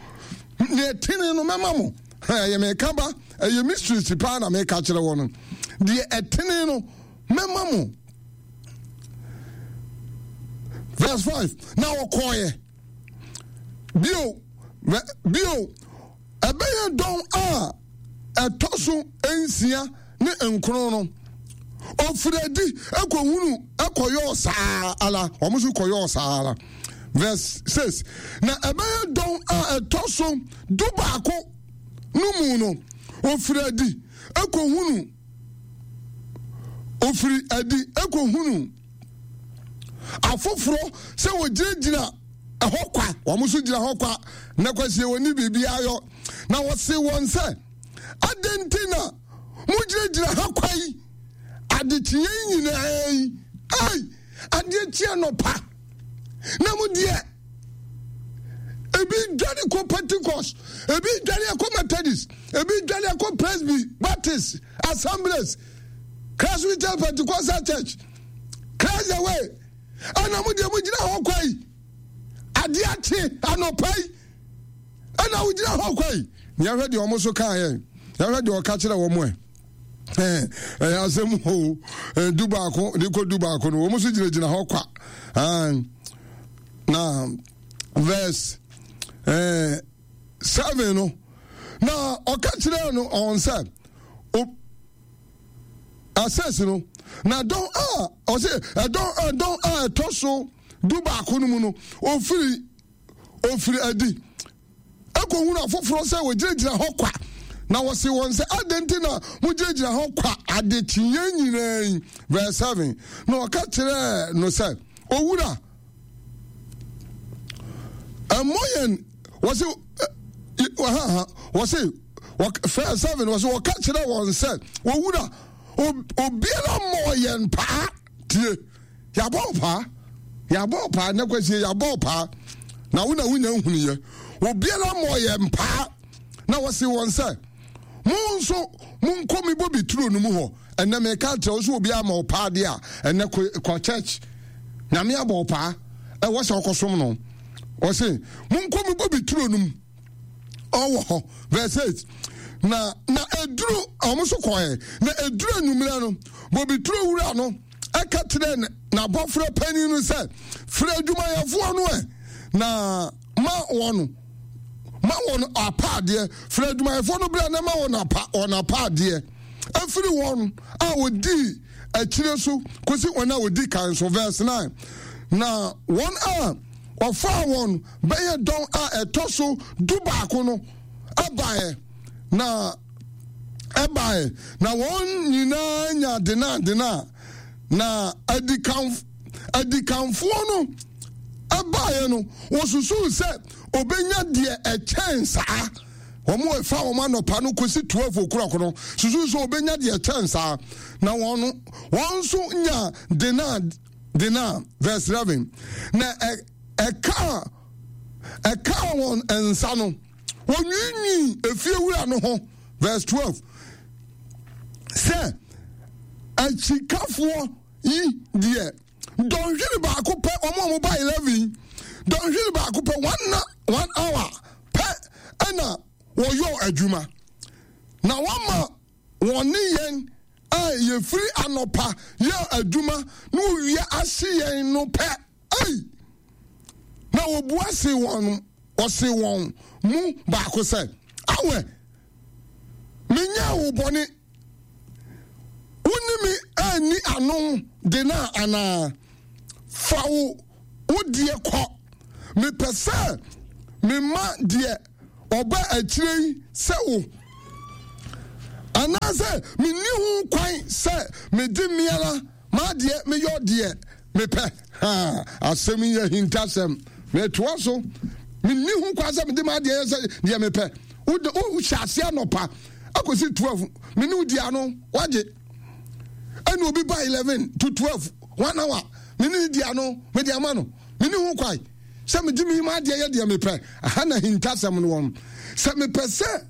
deɛ ɛtene no mɛma mo. Ha ɛyɛ meka ba, ɛyɛ mysteries paa na meka kyerɛ wɔ no. Deɛ ɛtene no mɛma mo. Verse five. Na ɔkɔɔyɛ bio bio ɛbɛyɛ dɔn a ɛtɔ so nsia ne nkron no, ofiri adi ɛkɔhunu ɛkɔyɔɔ saa ala, wɔn nso kɔyɔɔ saa ala. Verse six. Na ɛbɛyɛ dɔn a ɛtɔ so du baako no mu no, ofiri adi ɛkɔhunu ofiri adi ɛkɔhunu afoforɔ sɛ wɔgyinagyina ɛhɔ kwa, wɔn nso gyina hɔ kwa na kwasie wɔn ni biribi ayɔ. Na wɔse wɔn sɛ, adɛn nti na mogyinagyina ha kwa yi adekyeɛ nyinaa yi? Ai, adeɛ kyeɛ nɔpa na mo deɛ ebi dwane kɔ Pentecost, ebi dwane kɔ Methodist, ebi dwane kɔ Presby, Baptist, Assemblies, Christ Mission Pentecostal Church, Christ the Way. Ɛna mo deɛ mo gyina hɔ kwa yi adeɛ akye anɔpa yi ɛna wo gyina hɔ kwa yi. Yɛhwɛ deɛ wɔn so kaa yɛn, yɛhwɛ deɛ ɔka kyerɛ wɔn ɛ ɛyɛ asɛm o. Du baako de kɔ du baako no, wɔn nso gyinagyina hɔ kwa. Na verse ɛɛ seven no, na ɔka kyerɛ no ɔn sɛ asɛs no, na dɔn a ɔsɛ ɛdɔn ɛdɔn a ɛtɔ so du baako no mu no, ofiri ofiri adi ekohunu afoforɔ sɛ wɔgyinagyina hɔ kwa. Na wɔsi wɔn sɛ, adɛn nti na mogyinagyina hɔ kwa adekyeɛ nyinaa yi? Verse seven. Na ɔka kyerɛɛ no sɛ, owura, ɛmmɔ yɛn. Wɔsi ha wɔsi verse seven wɔsi wɔka kyerɛ wɔn sɛ, owura, obiara mmɔ yɛn paa. Tie, yɛabɔ paa, yɛabɔ paa ne kwasie, yɛabɔ paa na wo na wonya nhunuyɛ. Obiara mmɔ yɛn paa. Na wɔsi wɔn sɛ, mo nso monkɔ mi bobi turo no mu hɔ. Ɛnɛ meka kyerɛ wo sɛ obiara ma wo paa deɛ a, ɛnɛ kɔ church, nyame abɔ wo paa, ɛwɔ sɛ ɔkɔsom no. Ɔse monkɔ mi bobi turo no mu, ɔwɔ hɔ. Verse eight. Na na eduru ɔmo so kɔɛ, na eduru anwummerɛ no, bobi turo wura no ɛka kyerɛ n'abɔfra panyin no sɛ, frɛ adwumayɛfoɔ no ɛ na ma wɔn ma wɔn apaadeɛ. Frɛ adwumayɛfoɔ no berɛ na ma wɔn apa wɔn apaadeɛ ɛfiri wɔn a wɔdii akyire so kɔsi wɔn a wɔdi kan so. Verse nine, na wɔn a wɔfaa wɔn bɛyɛ dɔn a ɛtɔ so du baako no ɛbaeɛ na ɛbaeɛ na wɔn nyinaa nya dena dena. Na adikanf adikanfoɔ no ɛbaeɛ no, wɔsusuu sɛ obenya deɛ ɛkyɛn saa. Wɔn a ɛfa wɔn anɔpa no kɔsi twelve o'clock no susu sɛ obenya deɛ ɛkyɛn saa, na wɔn wɔn nso nya dena dena. Verse eleven, na ɛkaa ɛkaa wɔn nsa no, wɔnwiinwii efiewura no ho. Verse twelve, sɛ akyikafoɔ yi deɛ dɔnhwere baako pɛ, wɔn a wɔba eleven, dɔnhwere baako pɛ, one one hour pɛ ɛna wɔyɔ adwuma, na wɔma wɔn ne yɛn a yɛfiri anɔpa yɛ adwuma na wɔwie ahye yɛn no pɛ. Ei! Na wɔbua se wɔn, ɔse wɔn mu baako sɛ, awɛ, menyɛɛ wo bɔne, wo ne me anni ano de no anaa? Fa wo wo deɛ kɔ. Mepɛ sɛ mema deɛ ɔba akyire yi sɛ wo, anaasɛ menni ho kwan sɛ mede me ara m'adeɛ meyɔ deɛ mepɛ? Ha, asɛm yi yɛ ahintasɛm. Metoa so. Menni ho kwan sɛ mede m'adeɛ yɛ sɛ deɛ mepɛ. Wohyɛ aseɛ anɔpa akɔsi twelve, me ne wo di ano, wagye. Ɛna obi ba eleven to twelve, one hour, me ne di ano, mede ama no. Menni ho kwan sɛ mede me m'adeɛ yɛ deɛ mepɛ. Aha na ahintasɛm no wɔ. Sɛ mepɛ sɛ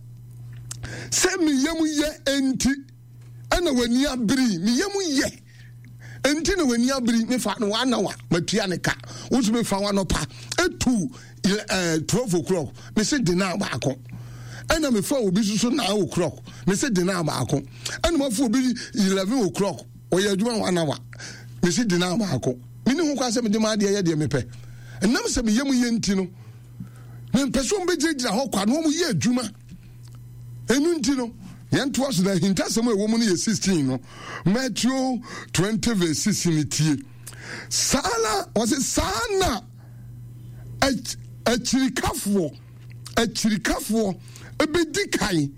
sɛ me yam yɛ enti ɛna w'ani abiri, me yam yɛ enti na w'ani abiri, mefa no one hour matua ne ka, wo nso mefa w'anɔpa etu eh, twelve o'clock, mese dena baako, ɛna mefa obi soso nine o'clock, mese dena baako, ɛna mafa obi eleven o'clock, ɔyɛ adwuma one hour, mese dena baako. Mene ho kwa sɛ mede m'adeɛ yɛ deɛ mepɛ. Ɛnam sɛ meyɛ mu yɛ nti no, mempɛ sɛ wɔbɛgyinagyina hɔ kwa na wɔyɛ adwuma. Ɛno nti no, yɛntoa so na ahintasɛm a ɛwɔ mu no yɛ sixteen no, Matthew twenty verse sixteen tie. Saa na wɔse saa na akyirikafoɔ akyirikafoɔ bɛdi kan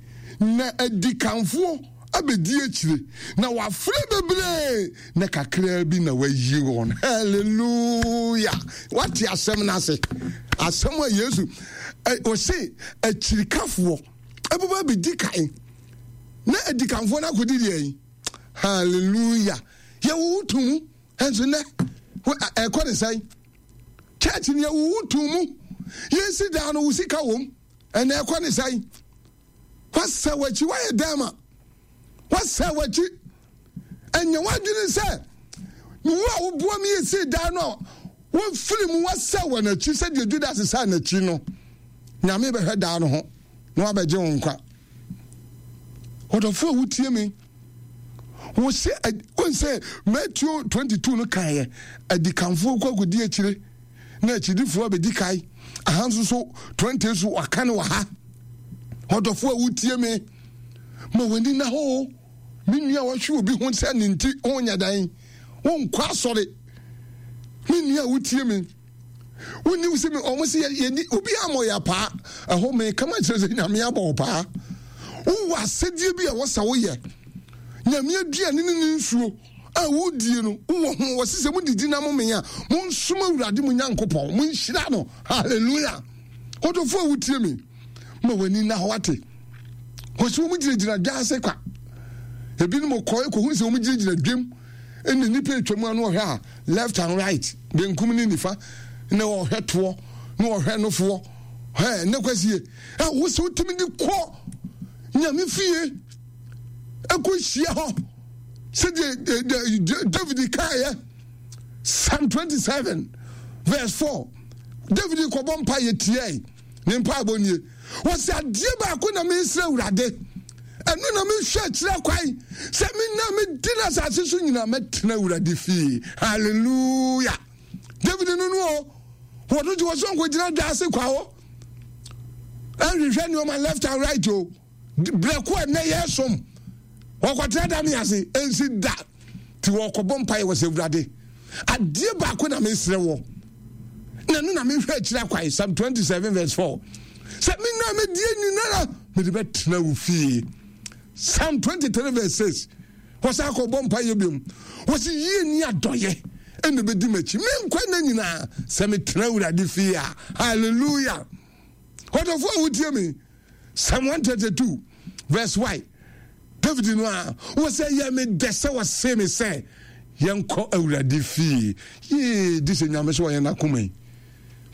na adikanfoɔ abɛdi akyire, na wafrɛ bebree na kakraa bi na wayi wɔn. Hallelujah! Wate asɛm no ase? Asɛm a Yesu ɔse akyirikafoɔ ɛbɛba abɛdi kan na adikanfoɔ no akɔdi deɛ yi. Hallelujah! Yɛwowo to mu ɛnso nnɛ ɛkɔ ne sɛn? Church no yɛwowo to mu, yɛsi daa no wo sika wom, ɛnɛ ɛkɔ ne sɛn? Wasɛ w'akyi, wayɛ dɛn ma wasɛ w'akyi? Ɛnyɛ w'adwene sɛ wo a woboa mi yɛsii dan no a wofiri mu wasɛ wɔ n'akyi sɛdeɛ Judas saa n'akyi no, Nyame bɛhwɛ daa no ho na wabɛgye wo nkwa. Ɔdɔfo a wotie me, wɔsɛ wɔn sɛ Matthew twenty-two no kaeɛ, adikanfoɔ kɔ akɔdi akyire na akyidifoɔ abɛdi kae. Aha nso so twenty so waka no wɔ ha. Ɔdɔfo a wotie me, ma w'ani na hɔ. Me nua a wɔhwe obi ho sɛ ne nti wonyɛ dan, wonkɔ asɔre. Me nua a wotie me, wonni wo sɛ ɔmo sɛ yɛni obi amɔ yɛ paa. Ɛhɔ me kama kyerɛ sɛ Nyame abɔ wo paa. Wowɔ asɛdeɛ bi a wɔsɛ woyɛ. Nyame aduane ne ne nsuo a wodie no wowɔ ho. Wɔse sɛ modidi na momee a, monsom Awurade mo Nyankopɔn, monhyira no. Hallelujah! Ɔdɔfo a wotie me, ma w'ani nna hɔ ate. Wɔsi wɔn gyinagyina dwa ase kwa. Ebinom kɔ ekohu sɛ wɔn gyinagyina dwam, ɛna nipa atwa mu ano ɔhwɛ a left and right, benkum ne nifa, na ɔhwɛ toɔ, na ɔhwɛ nofoɔ. Hɛ, ne kwasie. Ɛ wosɛ wotumi de kɔ Nyame fie ɛkɔ hyia hɔ sɛdeɛ David kaeɛ, Psalm twenty-seven verse four. David kɔbɔ mpa yɛ tiae, ne mpaebɔ nie. Wɔsɛ adeɛ baako na mesrɛ Awurade, ɛno na mehwɛ akyerɛ kwan, sɛ menya medi no asase so nyinaa mɛtena Awurade fie. Hallelujah! David no no o, wɔno gye wɔsɛ nkɔgyina dwa ase kwa hɔ ɛnhwehwɛ nneɛma left and right o. Brɛ ko a nnɛ yɛsom wɔkɔtena da me ase ɛnsi da. Nti wɔkɔbɔ mpaeɛ wɔ sɛ Awurade, adeɛ baako na mesrɛ wɔ, na ɛno na mehwɛ akyiri akwae. Psalm twenty-seven verse four. Sɛ me nna medie nyinara mede bɛtena wo fie. Psalm twenty-three verse six. Wɔsan akɔbɔ mpaeɛ biom. Wɔsi yie ni adɔyɛ ɛna bɛdi m'akyi me nkwa nna nyinaa sɛ metena Awurade fie a. Hallelujah. Ɔdɔfoɔ a wotie me, Psalm one thirty-two verse one. David no a wɔsɛ yɛ me dɛ sɛ wɔse me sɛ yɛnkɔ Awurade fie. Yee, di sɛ Nyame so wɔyɛ n'akoma yi.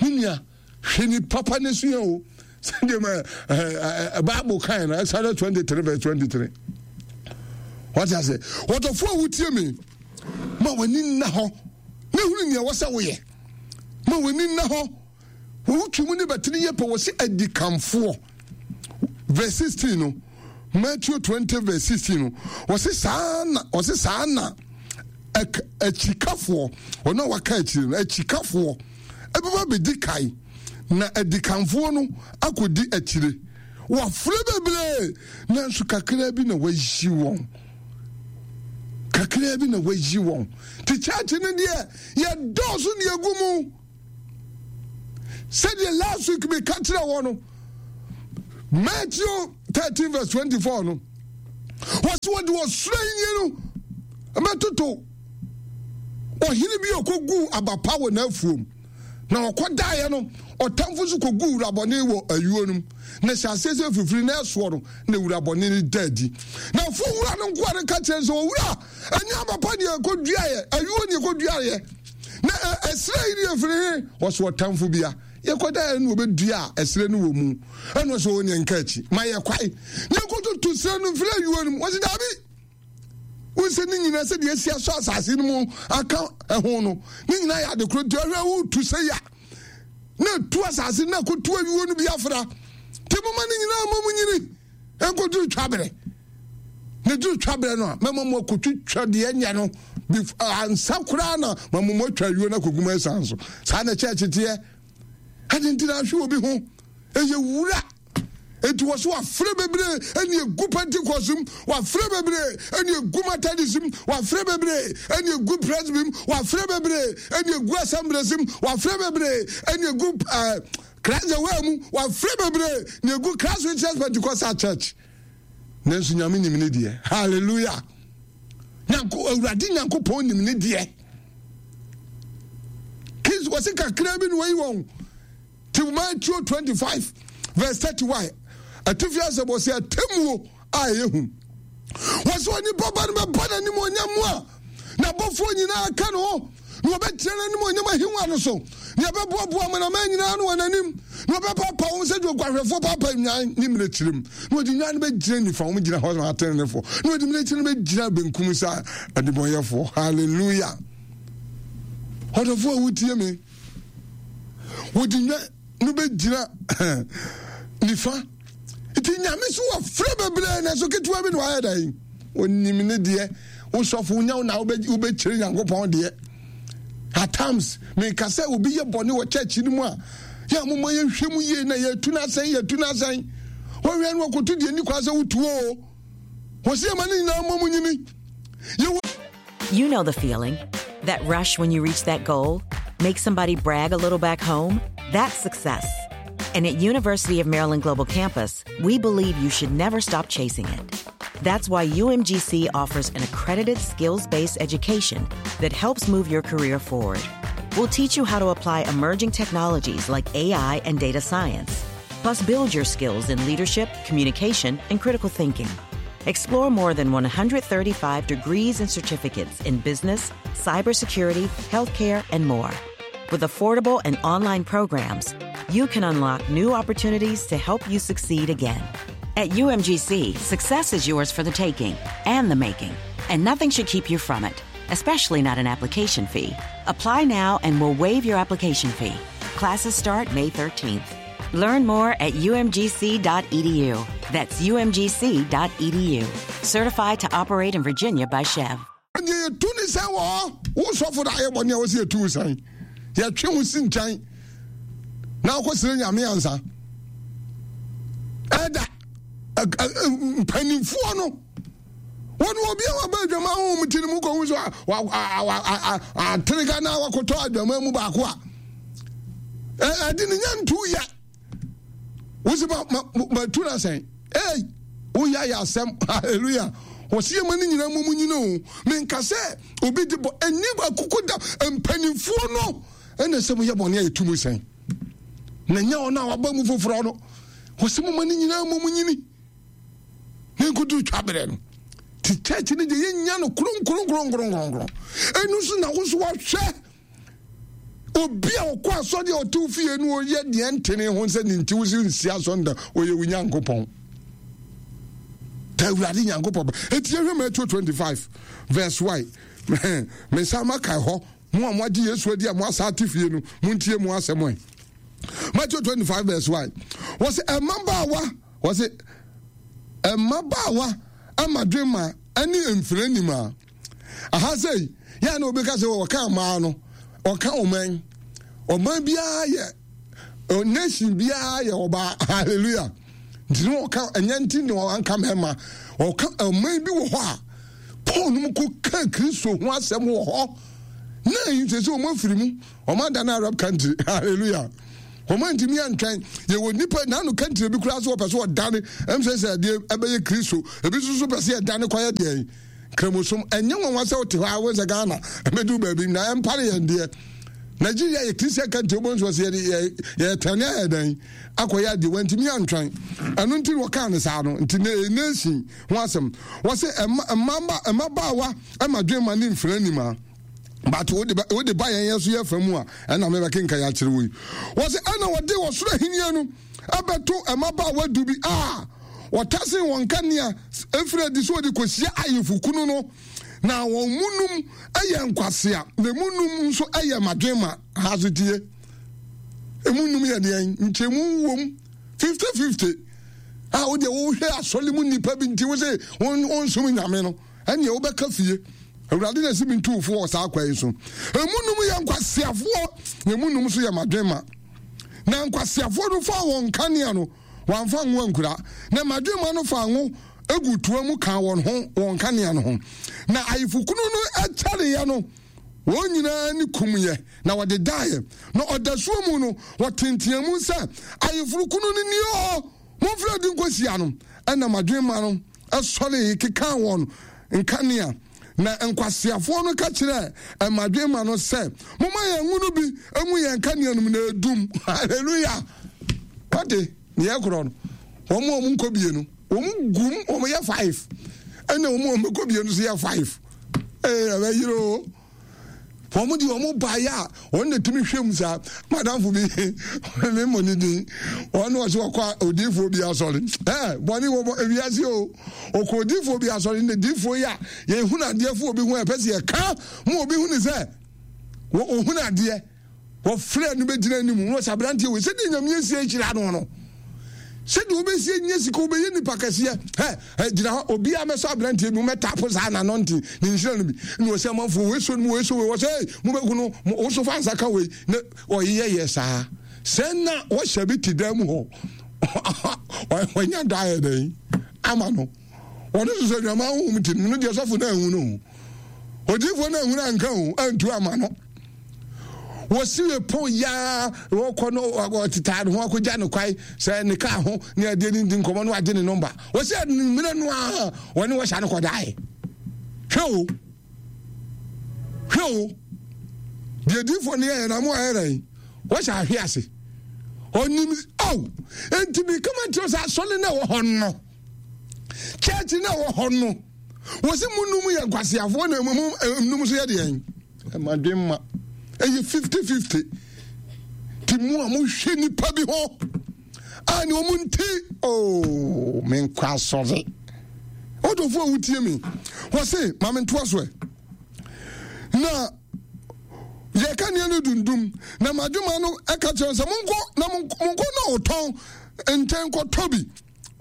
Me nua, hwɛ ni papa ne so yɛ o. Sɛdeɛ ma Bible kan no, Exodus twenty-three verse twenty-three. Wɔte ase, wɔtɔfoɔ a wotie me, ma w'ani nna hɔ na hunu nea ɛwɔ sɛ woyɛ. Ma w'ani nna hɔ. Wɔwotwi mu ne bɛtene yɛ pɛ wɔ sɛ adikanfoɔ. Verse sixteen no, Matthew twenty verse sixteen no, wɔse saa na, wɔse saa na akyikafoɔ, wɔn a wɔaka akyire no, akyikafoɔ ɛbɛba bɛdi kan, na adikanfoɔ no akɔdi akyire. Wɔafrɛ bebree, nanso kakra bi na wɔayi wɔn. Kakra bi na wɔayi wɔn. Te church no deɛ, yɛdɔɔso deɛ gu mu. Sɛdeɛ last week meka kyerɛ wɔ no, Matthew thirteen verse twenty-four no, wɔsi wɔde ɔsoro ahenni no bɛtoto ɔhene bi a ɔkɔguu aba pa wɔ n'afuom, na ɔkɔdaeɛ no, ɔtamfo nso kɔguu wurabɔne wɔ ayuo no mu, na hyɛ aseɛ sɛ firifiri na ɛsoɔ no, na wurabɔne no da adi. Na afuo wura no nkoa no ka kyerɛ sɛ, owura, ɛnyɛ aba pa deɛ ɛkɔduaeɛ, ayuo ne ɛkɔduaeɛ, na ɛserɛ yi deɛ firi he? Wɔso ɔtamfo bia yɛkɔdaeɛ no wɔbɛdua a ɛserɛ no wɔ mu. Ɛna ɔsɛ ɔwɔ neɛ nka akyi ma yɛ kwae ne yɛkɔtoto serɛ no mfiri ayuo no mu. Wɔse daabi, wo sɛ ne nyinaa sɛdeɛ asi asɔ asase no mu aka ɛho no, ne nyinaa yɛ ade koro, nti ɔhwɛ wotu sɛ ya na ɛtu asase no na ɛkɔtu ayuo no bi afra, nti moma ne nyinaa ma mu nyini ɛnkɔduru twaberɛ. Na duru twaberɛ no a, mɛma mo akɔtwitwa deɛ nyɛ no ansa koraa na ma mo atwa ayuo no akɔgu mo asiane so. Saa na kyɛɛkye teɛ. Ade nti na ahwe obi ho ɛyɛ wura. Enti wɔ so wafrɛ bebree ɛne egu Pentecost mu, wafrɛ bebree ɛne egu Methodist mu, wafrɛ bebree ɛne egu Presby mu, wafrɛ bebree ɛne egu Assemblies mu, wafrɛ bebree ɛne egu ɛɛ Christ the Way mu, wafrɛ bebree ne egu Christ Witness Pentecostal Church. Nanso Nyame nim ne deɛ. Hallelujah. Nyanko Awurade Nyankopɔn nim ne deɛ. Kids wɔsi kakra bi na wɔyi wɔn. Ti Matthew twenty-five verse thirty-one. Atifi asɛm wɔsi atemmuo a ɛyɛ hu. Wɔsi onipa ba no bɛba n'anim onyam mu a n'abɔfoɔ nyinaa ka ne ho, na wɔbɛkyerɛ n'anim onyam ahengua no so, na yɛbɛboaboa amanaman nyinaa no wɔ n'anim, na wɔbɛpapa wɔn sɛdeɛ oguahwɛfoɔ papa nnwan ne mmirekyiri mu, na wɔde nnwan no bɛgyina nifa, wɔn gyina hɔ sɛ atenenefoɔ, na wɔde mmirekyiri no bɛgyina benkum sɛ adebɔnyɛfoɔ. Hallelujah. Ɔdɔfoɔ a wotie me, wɔde nnwan no bɛgyina nifa. Nti Nyame so wɔfrɛ bebree, na so ketewa bi na wayɛ dɛn? Onim ne deɛ. Wosɔfo wonya wo na wobɛkyerɛ Nyankopɔn deɛ. At times, meka sɛ obi yɛ bɔne wɔ church no mu a, yɛ a momma yɛnhwɛ mu yie na yɛtu no asɛn, yɛtu no asɛn. Wɔhwɛ no wɔkɔto deɛ ni kwan sɛ wotuo o. Wɔsi ɛma ne nyinaa mmɔ mu nyini. Yɛwɔ You know the feeling. That rush when you reach that goal, make somebody brag a little back home, that's success. And at University of Maryland Global Campus, we believe you should never stop chasing it. That's why U M G C offers an accredited skills-based education that helps move your career forward. We'll teach you how to apply emerging technologies like A I and data science. Plus, build your skills in leadership, communication, and critical thinking. Explore more than one hundred thirty-five degrees and certificates in business, cybersecurity, healthcare, and more. With affordable and online programs, you can unlock new opportunities to help you succeed again. At U M G C, success is yours for the taking and the making, and nothing should keep you from it, especially not an application fee. Apply now and we'll waive your application fee. Classes start May thirteenth. Learn more at U M G C dot E D U. That's U M G C dot E D U. Certified to operate in Virginia by C H E V. Yɛtwe wo si nkyɛn na wokɔsrɛ Nyame ansa. Ɛda mpanimfoɔ no Wɔn obi a waba adwama honhom ti no mu kɔhu so aterega na wakɔtɔ adwama mu baako a ɛde ne nya ntu ya wosi ma ma ma tu na sɛn ei woyɛ ayɛ asɛm. Hallelujah. Wɔsi yɛ ma ne nyinaa mu mu nyina o. Menka sɛ obi de bɔ ɛni akoko da mpanimfoɔ no ɛna sɛ moyɛ bɔne a yɛtu mu sɛn na nyɛ ɔno a waba mu foforɔ no. Wɔsi mo ma ne nyinaa mu mu nyini ne nkodu twa berɛ no ti church no deɛ yɛnya no kronkronkronkronkron. Ɛno nso na wo so wahwɛ obi a ɔkɔ asɔre a ɔte fie no ɔyɛ deɛ ntene ho sɛ ne nti wo so nsi asɔre da ɔyɛ wo Nyankopɔn ta Awurade Nyankopɔn ba. Ɛti yɛhwɛ Matthew twenty-five verse one. Me nsa maka hɔ mo a moagye Yesu adi a mo asa ate fie no montie mo asɛm ɛ. Matthew twenty-five verse one. Wɔse ɛmmabaawa wɔse mmabaawa amadwema ne mfiri anim a aha sɛ yɛ na obi ka sɛ wɔka mmaa no ɔka ɔman ɔman biara yɛ nation biara yɛ ɔbaa. Hallelujah. Nti no ɔka ɛnyɛ nti na ɔanka mmarima ɔka ɔman bi wɔ hɔ a Paul no mu kɔ ka Kristo ho asɛm wɔ hɔ na yi sɛ sɛ ɔmo afiri mu ɔmo ada no Arab country. Hallelujah. Ɔmo ntumi antwɛn yɛwɔ nipa n'ano country bi koraa so wɔpɛ so ɔdane ɛm sɛ sɛ adeɛ ɛbɛyɛ Kristo ebi nso so pɛ sɛ ɛdane kɔyɛ deɛ kramosom. Ɛnyɛ nwanwa sɛ wote hɔ a wo sɛ Ghana ɛbɛdu baabi na ɛmpare yɛn deɛ. Nigeria yɛ Christian country wɔn nso sɛ yɛ yɛ tɛne ayɛ dɛn akɔyɛ adeɛ wɔntumi antwɛn ɛno nti wɔkaa ne saa no nti ne nation ho asɛm wɔsɛ mmaba mmabaawa ɛma dwema ne mfiri anim a but wo de wo de ba yɛn yɛ so yɛ fa mu a ɛna mebɛkenka yɛ akyerɛ wo yi wɔsɛ ɛna wɔde wɔsoro ahenni no ɛbɛto mmabaawa du bi a wɔtase wɔn kanea efiri adi so wɔde kɔhyia ayefokunu no na wɔn mu num ɛyɛ nkwasea na emu num nso ɛyɛ madwema. Ha so tie emu num yɛ deɛn nkyɛmu wom fifty fifty a wo deɛ wohwɛ asɔre mu nipa bi nti wo sɛ wɔnsom nyame no ɛneɛ wobɛka fie Awurade na ɛsi mi ntuufoɔ wɔ saa kwan yi so. Emu num yɛ nkwaseafoɔ na emu num nso yɛ madwema. Na nkwaseafoɔ no fa wɔn kanea no wɔamfa ngo ankura na madwema no fa ngo egu toa mu ka wɔn ho wɔn kanea no ho. Na ayefokunu no kyɛreɛ no wɔn nyinaa ne kumyɛ na wɔde daeɛ. Na ɔdasuo mu no wɔtenteɛ mu sɛ ayeforokunu no nie o, momfrɛ adi nkɔhyia no. Ɛna madwema no ɛsɔre keka wɔn nkanea. Na nkwaseafoɔ no ka kyerɛ mmadwema no sɛ momma yɛn ngo no bi ngu yɛn kanea no mu na edum. Hallelujah. Wate ne yɛ korɔ no wɔn a wɔn nkɔ bie no wɔn gum wɔn yɛ five ɛna wɔn a wɔn kɔ bie no so yɛ five. Ee ɛbɛyere o. Wɔn de wɔn baeɛ a wɔn na tumi hwɛ mu saa. Madamfo bi me mmɔ ne din wɔn na wɔsɛ wɔkɔ odiifoɔ bi asɔre ɛɛ bɔne wɔ ewiase o. Ɔkɔ odiifoɔ bi asɔre ne diifoɔ yi a yɛhunu adeɛ fo obi ho a ɛpɛ sɛ yɛka mu obi hu ne sɛ wɔhunu adeɛ wɔfrɛ no bɛgyina anim na wɔsɛ aberanteɛ wei sɛdeɛ Nyame asie ahyira no no sɛdeɛ wobɛsie nyɛ sika wobɛyɛ nipa kɛseɛ ɛ ɛ gyina hɔ obiara mɛsɔ aberanteɛ bi mɛtapo saa n'ano nte ne nhyira no bi na wɔsɛ amanfoɔ wei so no wei so wei wɔsɛ ei mobɛhu no wo so fa nsa ka wei na ɔyeyɛ yɛ saa sɛ na wɔhyɛ bi te dan mu hɔ wɔnya da ayɛ dɛn ama no wɔne so sɛ adwama honhom te no deɛ sɔfo no anhu no odiyifoɔ no anhu no anka o antu ama no wɔsi pɔn yaa wɔkɔ no ɔtetaa ne ho akɔgya ne kwae sɛ ne kaa ho ne adeɛ ne ndi nkɔmmɔ no wagye ne nɔmba wɔsi mmerɛ no a wɔne wɔhyɛ no kɔdae. Hwɛ o hwɛ o deɛ diifoɔ no yɛyɛ na mo ayɛ dɛn wɔhyɛ ahwe ase ɔnim aw enti bi kama kyerɛ sɛ asɔre no ɛwɔ hɔ no church no ɛwɔ hɔ no wɔsi mu num yɛ nkwaseafoɔ na mu num nso yɛ deɛn ɛmadwemma ɛyɛ fifty fifty ti mu a mohwɛ nipa bi hɔ a ne wɔn nti ooo menkɔ asɔre ɔdɔfo a wotie mi wɔsi maame ntoa so ɛ na yɛka nea no dundum na madwuma no ɛka kyerɛ sɛ monkɔ na monkɔ na ɔtɔn nkyɛn kɔtɔ bi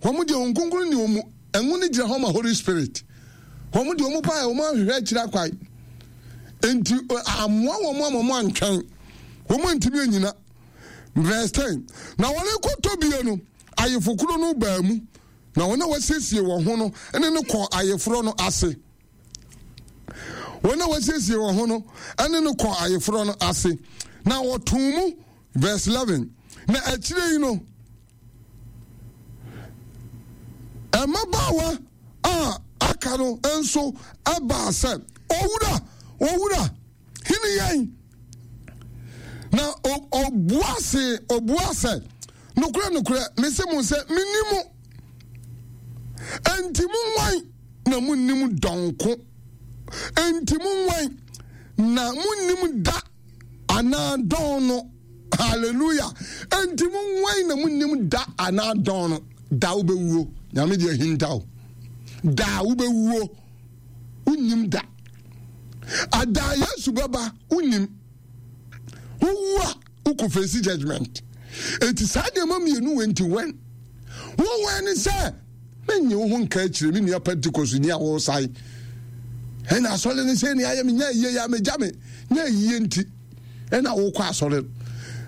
wɔn deɛ wɔn nkonkron ne wɔn ɛnwo ne gyina hɔ ma Holy Spirit wɔn deɛ wɔn paa wɔn ahwehwɛ akyire akwae nti amoa wɔn ama wɔn antwɛn wɔn antumi anyina. Verse ten na wɔn rekɔtɔ bie no ayefokoro no baa mu Na wɔn a wɔasiesie wɔn ho no ne no kɔɔ ayeforɔ no ase. Wɔn a wɔasiesie wɔn ho no ne no kɔɔ ayeforɔ no ase. Na wɔtoo mu, verse eleven. Na akyire yi no, mmabaawa a aka no nso baa sɛ, Owura, Owura, hene yɛn. Na ɔbua se, ɔbua sɛ, Nokorɛ, nokorɛ, mese mo sɛ, menni mo. Enti monwan na monnim dɔnko. Enti monwan na monnim da anaa dɔn no. Hallelujah. Enti monwan na monnim da anaa dɔn no. Da wobɛwuo. Nyame deɛ ahinta o. Da wobɛwuo. Wonnim da. Ada Yesu bɛba, wonnim. Wowu a, wokɔ face judgment. Enti saa nneɛma mmienu wɔ nti wɛn. Wowɛn ne sɛ menye wo ho nka akyire me nua Pentecost ni a wɔresan. Ɛna asɔre ne sɛ ne ayɛ me nya yie ya megya me nya yie nti ɛna wokɔ asɔre.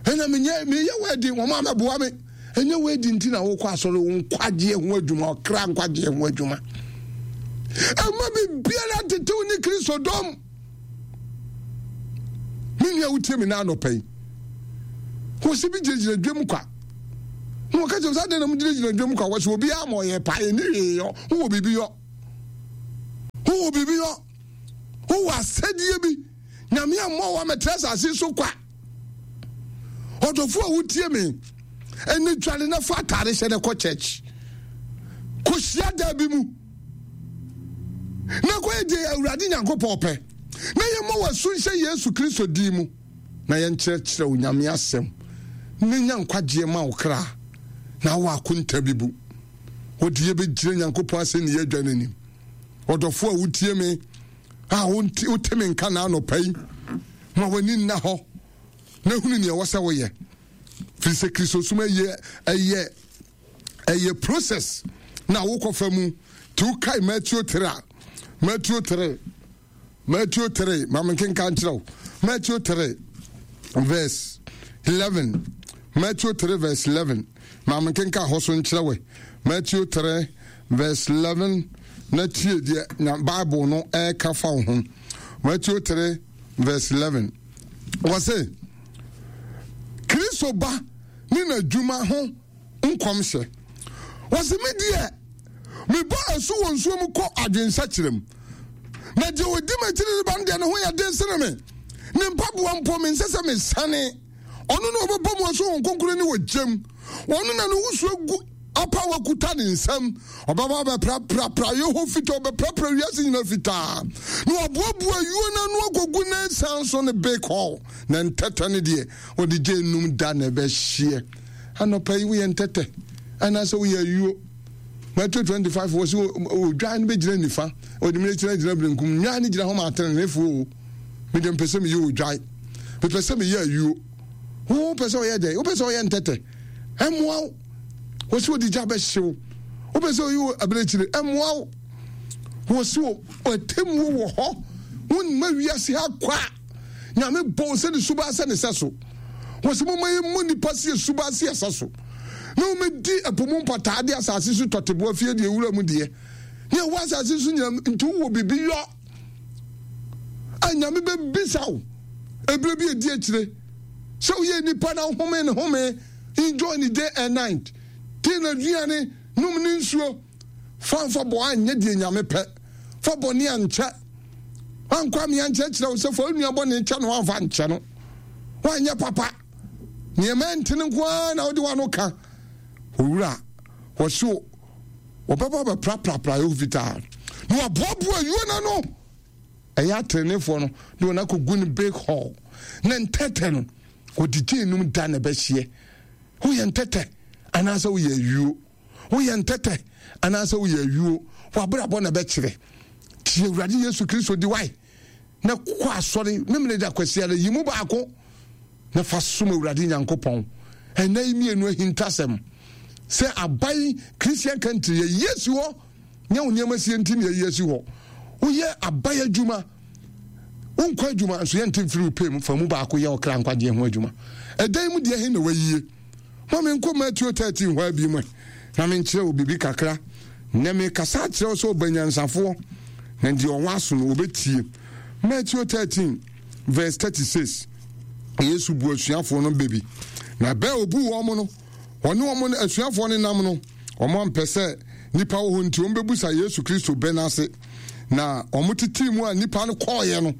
Ɛna menyɛ meyɛ wɛdi wɔn a mɛboa me. Ɛnyɛ wɛdi nti na wokɔ asɔre, wo nkwagyeɛ ho adwuma, ɔkra nkwagyeɛ ho adwuma. Ɛma biribiara tetew ne Kristo dɔm. Me nua wotie me na anɔpa yi. Wɔsi bi gyinagyina dwam kwa. Na wɔka kyerɛ sɛ adɛn na mogyinagyina dwam kwa? Wɔsi obiara ma ɔyɛ paa ɛni hwee yɔ. Wowɔ biribi yɔ. Wowɔ biribi yɔ. Wowɔ asɛdeɛ bi. Nyame ammɔ wo amɛtra asase so kwa. Ɔdɔfo a wotie me, ɛne dware na fa atare hyɛ na kɔ church. Kɔhyia da bi mu. Na kɔyɛ deɛ Awurade Nyankopɔn pɛ. Na yɛmmɔ w'asu nhyɛ Yesu Kristo din mu. Na yɛnkyerɛkyerɛ Onyame asɛm. Na nya nkwagyeɛ ma wo kra. Na wɔ akonta bi bu. Wɔde yɛbɛgyina Nyankopɔn asɛnniiɛ adwa no anim. Ɔdɔfo a wotie me, a wote me nka na anɔpa yi, ma w'ani nna hɔ na hunu nea ɛwɔ sɛ woyɛ. Firi sɛ Kristosom ɛyɛ ɛyɛ ɛyɛ process na wokɔfa mu. Nti wokae Matthew three a, Matthew three, Matthew three, ma menkenka nkyerɛ wo. Matthew three verse eleven, Matthew three verse eleven, ma menkenka hɔ so nkyerɛ wo. Matthew three verse eleven, na tie deɛ na Bible no ɛreka fa wo ho. Matthew three verse eleven, wɔse Kristo ba ne n'adwuma ho nkɔmhyɛ. Wɔse me deɛ mebɔ asu wɔ nsuo mu kɔ adwensakyerɛ mu, na deɛ ɔdi m'akyiri reba no deɛ ne ho yɛ den sene me, ne mpaboa mpo mensɛ sɛ mesane. Ɔno na ɔbɛbɔ mu asu wɔ nkonkron ne wɔ gyam. Ɔno na ne wusuo gu apaawa kuta ne nsam. Ɔbɛba abɛprapra praeɛ hɔ fitaa, ɔbɛprapra wiase nyinaa fitaa, na waboaboa ayuo no ano akɔgu ne nsa so ne bake hall, na ntɛtɛ no deɛ ɔde gye enum da na ɛbɛhyeɛ. Anɔpa yi woyɛ ntɛtɛ anaasɛ woyɛ ayuo? Matthew twenty-five wɔ sɛ odwan no bɛgyina nifa, ɔde mene kyerɛ gyina benkum. Nnwan no gyina hɔ ma ateneneefoɔ o. Mede mpɛ sɛ meyɛ odwan, mepɛ sɛ meyɛ ayuo. Wo pɛ sɛ ɔyɛ dɛn? Wopɛ sɛ ɔyɛ ntɛtɛ? Ɛmmoa wo. Wɔ sɛ ɔde gya bɛhyew. Wopɛ sɛ ɔyɛ abirekyire? Ɛmmoa wo. Wɔ sɛ ɔtɛmmuo wɔ hɔ. Womma wiase ha kwa. Nyame bɔ wo sɛ ne suba sɛ ne sɛ so. Wɔ sɛ momma yɛmmɔ nnipa sɛ yɛ suba sɛ yɛ sɛ so. Na wɔmɛdi ɛpo mu mpataa de asase so tɔteboa fie deɛ wura mu deɛ. Ne ɛwɔ asase so nyinam nti wowɔ biribi yɔ. A Nyame bɛbisa wo ɛberɛ bi ɛdi akyire sɛ woyɛ nipa na wohome ne home, enjoy ne day and night, te n'aduane, nom ne nsuo, fa mfa bɔ anyɛ deɛ Nyame pɛ, fa bɔne ankyɛ. Wankɔ amea nkyerɛkyerɛ wo sɛ fa wo nua bɔne kyɛ no, wamfa nkyɛ no, woanyɛ papa, nneɛma ɛntene nko ara na wode w'ano ka. Owura, wɔse wɔbɛba bɛpraprapra yɛ fitaa na wɔaboaboa ayuo no ano. Ɛyɛ atrenefoɔ no de wɔn akɔgu no big hall, na ntɛtɛ no wɔde gye enum da na ɛbɛhyeɛ. Woyɛ ntɛtɛ anaasɛ woyɛ ayuo? Woyɛ ntɛtɛ anaasɛ woyɛ ayuo? W'abrabɔ na ɛbɛkyerɛ. Tie Awurade Yesu Kristo di wae na kɔ asɔre Memene da Kwasiada yi mu baako na fa som Awurade Nyankopɔn. Ɛnna yi mmienu ahintasɛm sɛ aban Christian country yɛyi asi hɔ, nyɛ wo nneɛma sie nti na yɛyi asi hɔ. Woyɛ aban adwuma, wonkɔ adwuma nso yɛnte mfiri wo pɛ mu, fa mu baako yɛ ɔkra nkwagyeɛ ho adwuma. Ɛdan mu deɛ he na wayie? Ma menkɔ Matthew thirteen hɔ abi mu na menkyerɛ wo biribi kakra. Nnɛ mekasa akyerɛ wo sɛ ɔba nyansafoɔ, na deɛ ɔwɔ aso no ɔbɛtie. Matthew thirteen verse thirty-six. Yesu bu asuafoɔ no bɛ bi, na bɛɛ ɔbu wɔn no, ɔne wɔn no asuafoɔ no nam no, wɔn ampɛ sɛ nipa wɔ hɔ nti wɔn bɛbusa Yesu Kristo bɛ n'ase. Na wɔn tete mu a nipa no kɔɔeɛ no,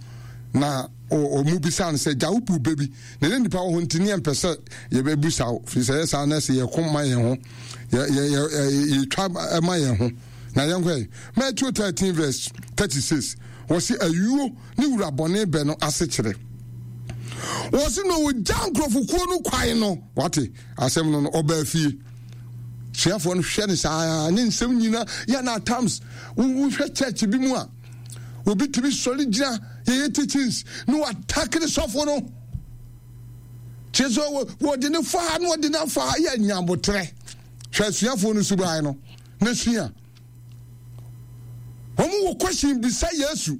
na wɔn bisa no sɛ, gya wo bu bɛ bi, na ne nipa wɔ hɔ nti ne yɛmpɛ sɛ yɛbɛbusa wo, firi sɛ yɛ saa na sɛ yɛko ma yɛn ho, yɛ yɛ yɛ yɛtwa ma yɛn ho. Na yɛnkɔ Matthew thirteen verse thirty-six, wɔsi ayuo ne wura bɔne bɛ no ase kyerɛ. Wɔsi na wɔgya nkurɔfokuo no kwan no, wate asɛm no no, ɔbaa fie. Suafoɔ no hwɛ no saa ne nsɛm nyina yɛ na at times wohwɛ church bi mu a obi tumi sɔre gyina yɛyɛ teachings na watakere sɔfo no, kyerɛ sɛ wɔde ne fa ha na wɔde ne afa ha, yɛ nyabotrɛ. Hwɛ asuafoɔ no suban no na sua. Wɔn wɔ question bisa Yesu,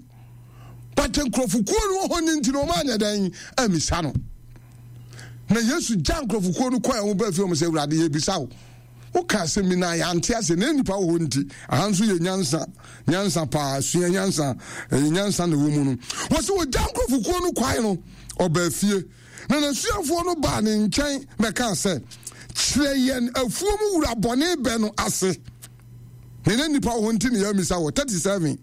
but nkurɔfokuo no wɔ hɔ ne nti na wɔn anyɛ dɛn amisa no. Na Yesu gya nkurɔfokuo no kɔɛ, wɔn baa fie, wɔn sɛ, Awurade, yɛbisa wo, woka asɛm bi na yɛante ase, na nnipa wɔ hɔ nti aha nso yɛ nyansa, nyansa paa, sua nyansa, ɛyɛ nyansa na ɛwɔ mu no. Wɔsɛ wɔgya nkurɔfokuo no kwae no, ɔbaa fie, na n'asuafoɔ no baa ne nkyɛn bɛkaa sɛ, kyerɛ yɛn afuo mu wura bɔne bɛ no ase. Na ne nnipa wɔ hɔ nti na yɛamisa wɔ. thirty-seven.